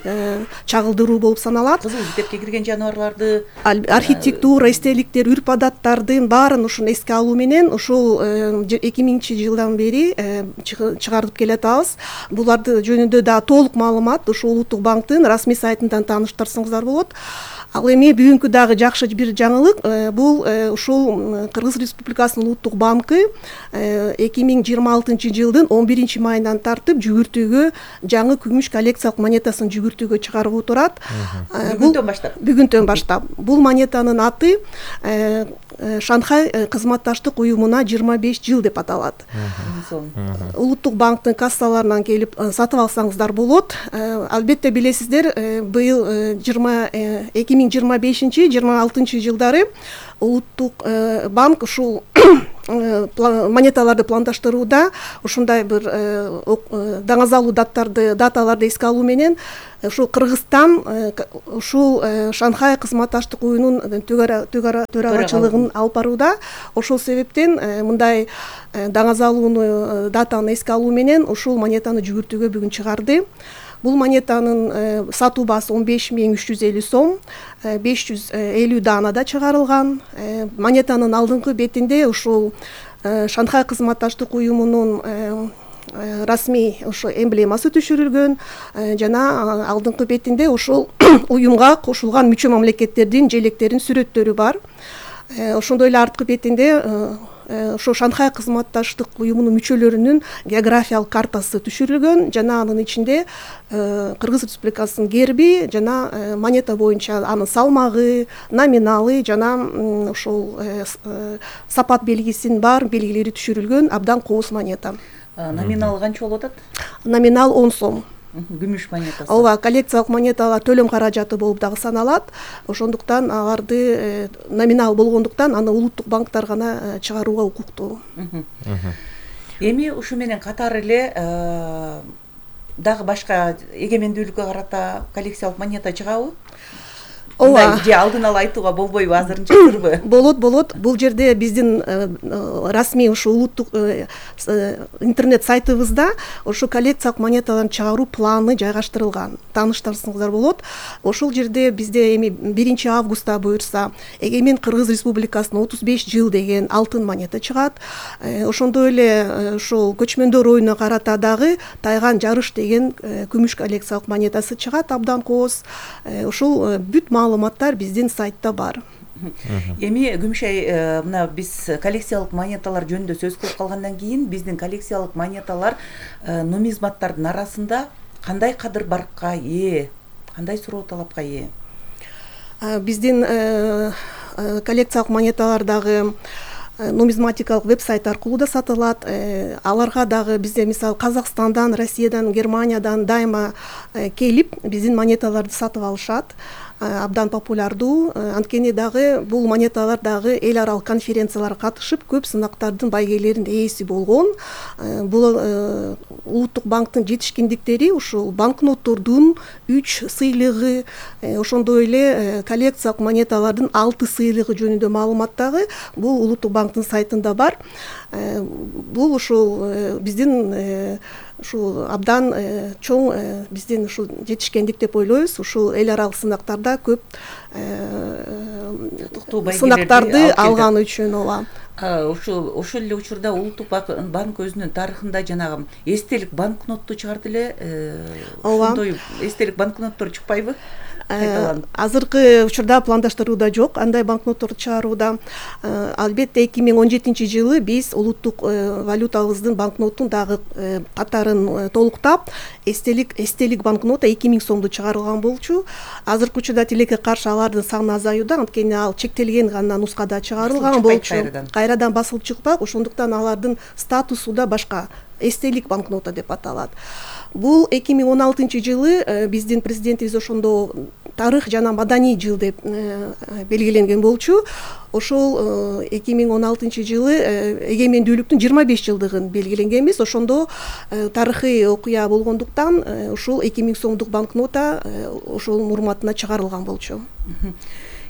чагылдыруу болуп саналат. Кызыл китепке кирген жаныбарларды, архитектура, эстеликтер, үрп адаттардын баарын ушуну эске алуу менен ушул эки миңинчи жылдан бери чыгарып келатабыз. Буларды жөнүндө да толук маалымат ушу улуттук банктын расмий сайтынан тааныштырсаңыздар болот. Ал эми бүгүнкү дагы жакшы бир жаңылык, бул ушул Кыргыз Республикасынын Улуттук банкы эки миң жыйырма алтынчы жылдын он биринчи майынан тартып жүгүртүүгө жаңы күмүш коллекциялык монетасын жүгүртүүгө чыгарып турат. Бүгүнтөн баштап. Бүгүнтөн баштап. Бул монетанын аты Шанхай кызматташтык уюмуна жыйырма беш жыл деп аталат. Улуттук банктын кассаларынан келип сатып алсаңыздар болот. Албетте билесиздер, быйыл эки миң жыйырма бешинчи жыйырма алтынчы жылдары Улуттук банк ушул монеталарды пландаштырууда ушундай бир даңазалуу даттарды даталарды эске алуу менен ушул Кыргызстан ушул Шанхай кызматташтык уюмунун төрагачылыгын алып барууда. Ошол себептен мындай даңазалууну датаны эске алуу менен ушул монетаны жүгүртүүгө бүгүн чыгарды. Бул монетанын сатуу баасы он беш миң үч жүз элүү сом, беш жүз элүү даанада чыгарылган. Монетанын алдыңкы бетинде ушул Шанхай кызматташтык уюмунун расмий ошо эмблемасы түшүрүлгөн жана алдыңкы бетинде ушул уюмга кошулган мүчө мамлекеттердин желектеринин сүрөттөрү бар. Ошондой эле арткы бетинде ошо Шанхай кызматташтык уюмунун мүчөлөрүнүн географиялык картасы түшүрүлгөн жана анын ичинде Кыргыз Республикасынын герби жана монета боюнча анын салмагы, номиналы жана ошол сапат белгисинин бар белгилери түшүрүлгөн абдан кооз монета. Номиналы канча болуп атат? Номинал он сом. Күмүш монетасы. Ооба, коллекциялык монеталар төлөм каражаты болуп дагы саналат. Ошондуктан аларды номинал болгондуктан аны улуттук банктар гана чыгарууга укуктуу. Эми ушу менен катар эле дагы башка эгемендүүлүккө карата коллекциялык монета чыгабы? Ооба. Же алдын ала айтууга болбойбу, азырынча сырбы? Болот, болот. Бул жерде биздин расмий ушу улуттук интернет сайтыбызда ошо коллекциялык монеталарды чыгаруу планы жайгаштырылган. Тааныштырсаңыздар болот. Ошол жерде бизде эми биринчи августта буюрса Эгемен Кыргыз Республикасынын отуз беш жыл деген алтын монета чыгат. Ошондой эле ошол көчмөндөр оюна карата дагы Тайган жарыш деген күмүш коллекциялык монетасы чыгат, абдан кооз. Ошол бүт маалыматтар биздин сайтта бар. Эми Күмүшай, мына биз коллекциялык монеталар жөнүндө сөз кылып калгандан кийин биздин коллекциялык монеталар нумизматтардын арасында кандай кадыр баркка ээ, кандай суроо талапка ээ? Биздин коллекциялык монеталар дагы нумизматикалык веб-сайт аркылуу да сатылат. Аларга дагы бизде мисалы Казакстандан, Россиядан, Германиядан дайыма келип биздин монеталарды сатып алышат. Абдан популярдуу. Анткени дагы бул монеталар дагы эл аралык конференцияларга катышып, көп сынактардын байгелеринин ээси болгон. Бул улуттук банктын жетишкендиктери ушул банкноттордун үч сыйлыгы, ошондой эле коллекциялык монеталардын алты сыйлыгы жөнүндө маалымат дагы бул улуттук банктын сайтында бар. Бул ушул биздин ушул абдан чоң биздин ушул жетишкендик деп ойлойбуз. Ушул эл аралык сынактарда көп сынактарды алган үчүн. ооба. Ошол ошол эле учурда улуттук банк өзүнүн тарыхында жанагы эстелик банкнотту чыгарды эле. Ошондой эстелик банкноттор чыкпайбы? Азыркы учурда пландаштырууда жок андай банкнотторду чыгарууда. Албетте эки миң он жетинчи жылы биз улуттук валютабыздын банкноттун дагы катарын толуктап, эстелик эстелик банкнота эки миң сомду чыгарылган болчу. Азыркы учурда тилекке каршы алардын саны азаюуда, анткени ал чектелген гана нускада чыгарылган болчу. Кайрадан басылып чыкпак, ошондуктан алардын статусу да башка. Эстелик банкнота деп аталат. Бул эки миң он алтынчы жылы биздин президентибиз ошондо тарых жана маданий жыл деп белгиленген болчу. Ошол эки миң он алтынчы жылы эгемендүүлүктүн жыйырма беш жылдыгын белгиленгенбиз. Ошондо тарыхый окуя болгондуктан ушул эки миң сомдук банкнота ошол урматына чыгарылган болчу.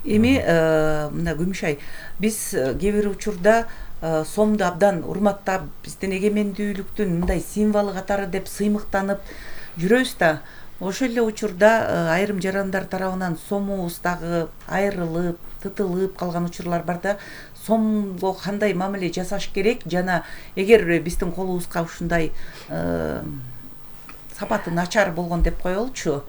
Эми мына Күмүшай, биз кээ бир учурда сомду абдан урматтап, биздин эгемендүүлүктүн мындай символу катары деп сыймыктанып жүрөбүз да. Ошол эле учурда айрым жарандар тарабынан сомубуз дагы айрылып, тытылып калган учурлар бар да. Сомго кандай мамиле жасаш керек жана эгер биздин колубузга ушундай сапаты начар болгон деп коелучу,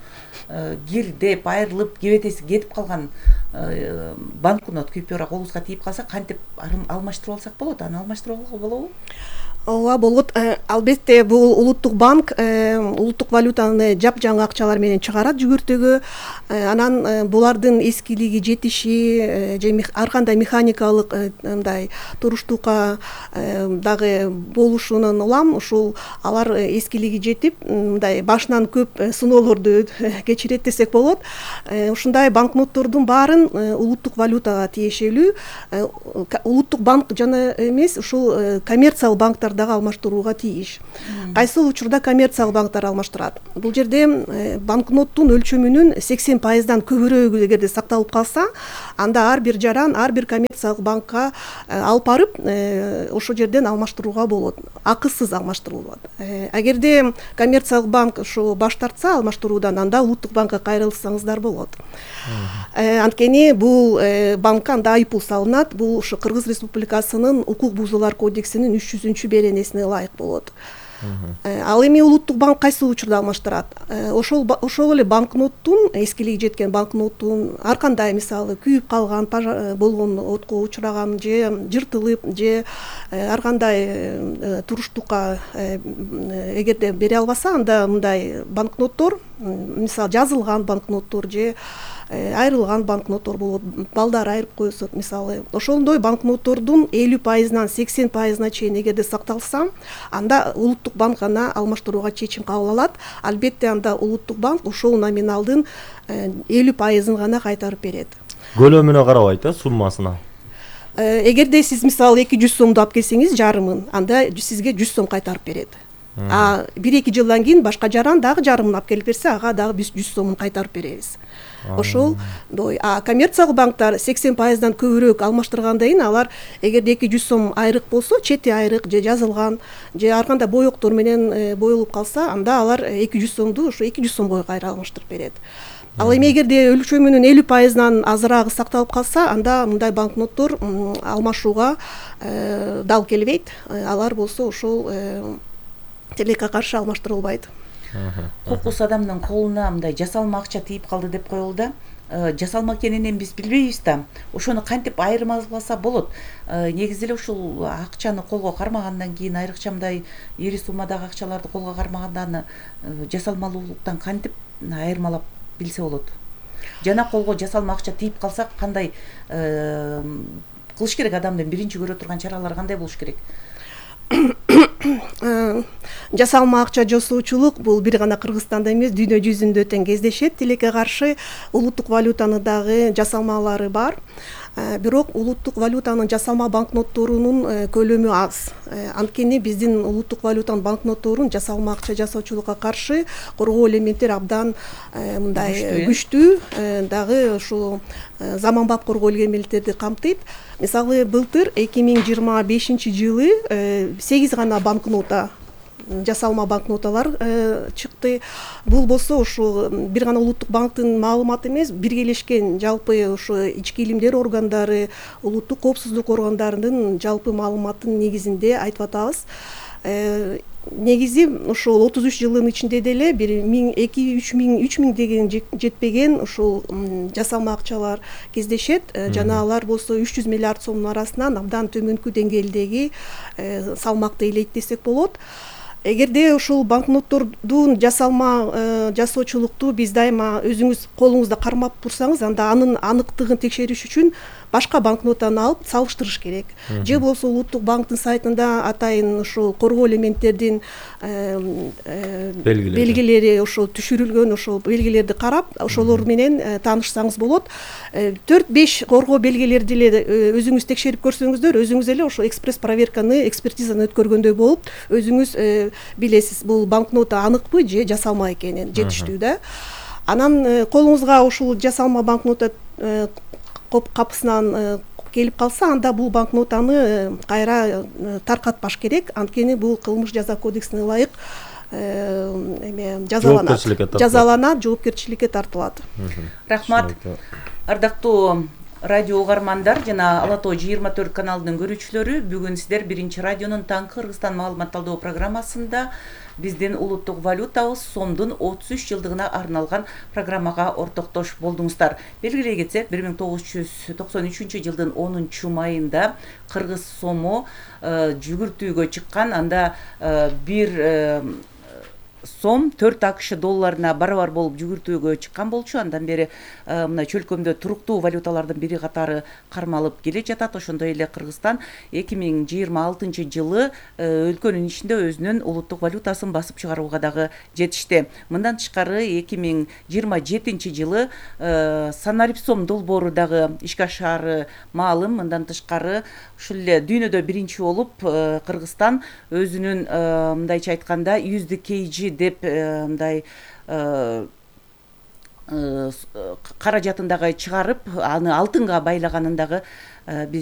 кирдеп айрылып кебетеси кетип калган банкнот купюра колубузга тийип калса кантип алмаштырып алсак болот? Аны алмаштырып алууга болобу? Ооба, болот. Албетте бул улуттук банк улуттук валютаны жапжаңы акчалар менен чыгарат жүгүртүүгө. Анан булардын эскилиги жетиши же ар кандай механикалык мындай туруштукка дагы болушунан улам ушул алар эскилиги жетип мындай башынан көп сыноолорду кечирет десек болот. Ушундай банкноттордун баарын улуттук валютага тиешелүү. Улуттук банк жана эмес, ушул коммерциялык банктар дагы алмаштырууга тийиш. Кайсыл учурда коммерциялык банктар алмаштырат? Бул жерде банкноттун өлчөмүнүн сексен пайыздан көбүрөөгү эгерде сакталып калса, анда ар бир жаран ар бир коммерциялык банкка алып барып ошол жерден алмаштырууга болот. Акысыз алмаштырылат. Эгерде коммерциялык банк ушу баш тартса алмаштыруудан, анда улуттук банкка кайрылсаңыздар болот. Анткени бул банкка анда айыппул салынат. Бул ушу Кыргыз Республикасынын укук бузуулар кодексинин үч жүзүнчү беренесине ылайык болот. Ал эми улуттук банк кайсыл учурда алмаштырат? Ошол ошол эле банкноттун, эскилиги жеткен банкноттун ар кандай мисалы күйүп калган болгон, отко учураган же жыртылып же ар кандай туруштукка эгерде бере албаса, анда мындай банкноттор, мисалы жазылган банкноттор же айрылган банкноттор болот, балдар айырып коесот мисалы. Ошондой банкноттордун элүү пайызынан сексен пайызына чейин эгерде сакталса, анда улуттук банк аны алмаштырууга чечим кабыл алат. Албетте анда улуттук банк ошол номиналдын элүү пайызын гана кайтарып берет. Көлөмүнө карабайт, э, суммасына. Эгерде сиз мисалы эки жүз сомду алып келсеңиз, жарымын, анда сизге жүз сом кайтарып берет. А бир эки жылдан кийин башка жаран дагы жарымын алып келип берсе, ага дагы биз жүз сомун кайтарып беребиз. Ошол дой. А коммерциялык банктар сексен пайыздан көбүрөөк алмаштыргандан кийин алар эгерде эки жүз сом айрык болсо, чети айрык же жазылган же ар кандай боектор менен боелуп калса, анда алар эки жүз сомду ошо эки жүз сомго кайра алмаштырып берет. Ал эми эгерде өлчөмүнүн элүү пайызынан азыраагы сакталып калса, анда мындай банкноттор алмашууга дал келбейт. Алар болсо ошол тилекке каршы алмаштырылбайт. Кокус адамдын колуна мындай жасалма акча тийип калды деп коелу да. Жасалма экенин биз билбейбиз да. Ошону кантип айырмаласа болот? Негизи эле ушул акчаны колго кармагандан кийин, айрыкча мындай ири суммадагы акчаларды колго кармаганда аны жасалмалуулуктан кантип айырмалап билсе болот? Жана колго жасалма акча тийип калса кандай кылыш керек? Адамдын биринчи көрө турган чаралары кандай болуш керек? Жасалма акча жасоочулук бул бир гана Кыргызстанда эмес, дүйнө жүзүндө тең кездешет. Тилекке каршы улуттук валютаны дагы жасалмалары бар. Бирок улуттук валютанын жасалма банкнотторунун көлөмү аз. Анткени биздин улуттук валютанын банкнотторун жасалма акча жасоочулукка каршы коргоо элементтер абдан мындай күчтүү, дагы ушул заманбап коргоо элементтерди камтыйт. Мисалы былтыр эки миң жыйырма бешинчи жылы сегиз гана банкнота, жасалма банкноталар чыкты. Бул болсо ушул бир гана улуттук банктын маалыматы эмес, биргелешкен жалпы ушу ички илимдер органдары, улуттук коопсуздук органдарынын жалпы маалыматынын негизинде айтып атабыз. Негизи ушул отуз үч жылдын ичинде деле бир миң эки үч миң үч миң деген жетпеген ушул жасалма акчалар кездешет. Жана алар болсо үч жүз миллиард сомдун арасынан абдан төмөнкү деңгээлдеги салмакты ээлейт десек болот. Эгерде ушул банкноттордун жасалма жасоочулукту биз дайыма өзүңүз колуңузда кармап турсаңыз, анда анын аныктыгын текшериш үчүн башка банкнотаны алып салыштырыш керек. Же болсо улуттук банктын сайтында атайын ушул коргоо элементтердин белгилери ошол түшүрүлгөн ошол белгилерди карап, ошолор менен таанышсаңыз болот. төрт беш коргоо белгилерди эле өзүңүз текшерип көрсөңүздөр, өзүңүз эле ошол экспресс проверканы, экспертизаны өткөргөндөй болуп, өзүңүз билесиз бул банкнота аныкпы же жасалма экенин, жетиштүү да. Анан колуңузга ушул жасалма банкнота капысынан келип калса, анда бул банкнотаны кайра таркатпаш керек. Анткени бул кылмыш жаза кодексине ылайык эме жазаланат, жазаланат, жоопкерчиликке тартылат. Рахмат. Ардактуу Радио угармандар жана Ала Тоо жыйырма төрт каналынын көрүүчүлөрү, бүгүн сиздер биринчи радионун таңкы Кыргызстан маалыматталдоо программасында биздин улуттук валютабыз сомдун отуз үч жылдыгына арналган программага ортоктош болдуңуздар. Белгилей кетсек, бир миң тогуз жүз токсон үчүнчү жылдын онунчу майында кыргыз сому жүгүртүүгө чыккан. Анда бир сом төрт акш долларына барабар болуп жүгүртүүгө чыккан болчу. Андан бери мына чөлкөмдө туруктуу валюталардын бири катары кармалып келе жатат. Ошондой эле Кыргызстан эки миң жыйырма алтынчы жылы өлкөнүн ичинде өзүнүн улуттук валютасын басып чыгарууга дагы жетишти. Мындан тышкары эки миң жыйырма жетинчи жылы Санарипсом долбоору дагы ишке ашаары маалым. Мындан тышкары ушул эле дүйнөдө биринчи болуп Кыргызстан өзүнүн мындайча айтканда yüzde кейжи деп мындай каражатын дагы чыгарып, аны алтынга байлаганын дагы биз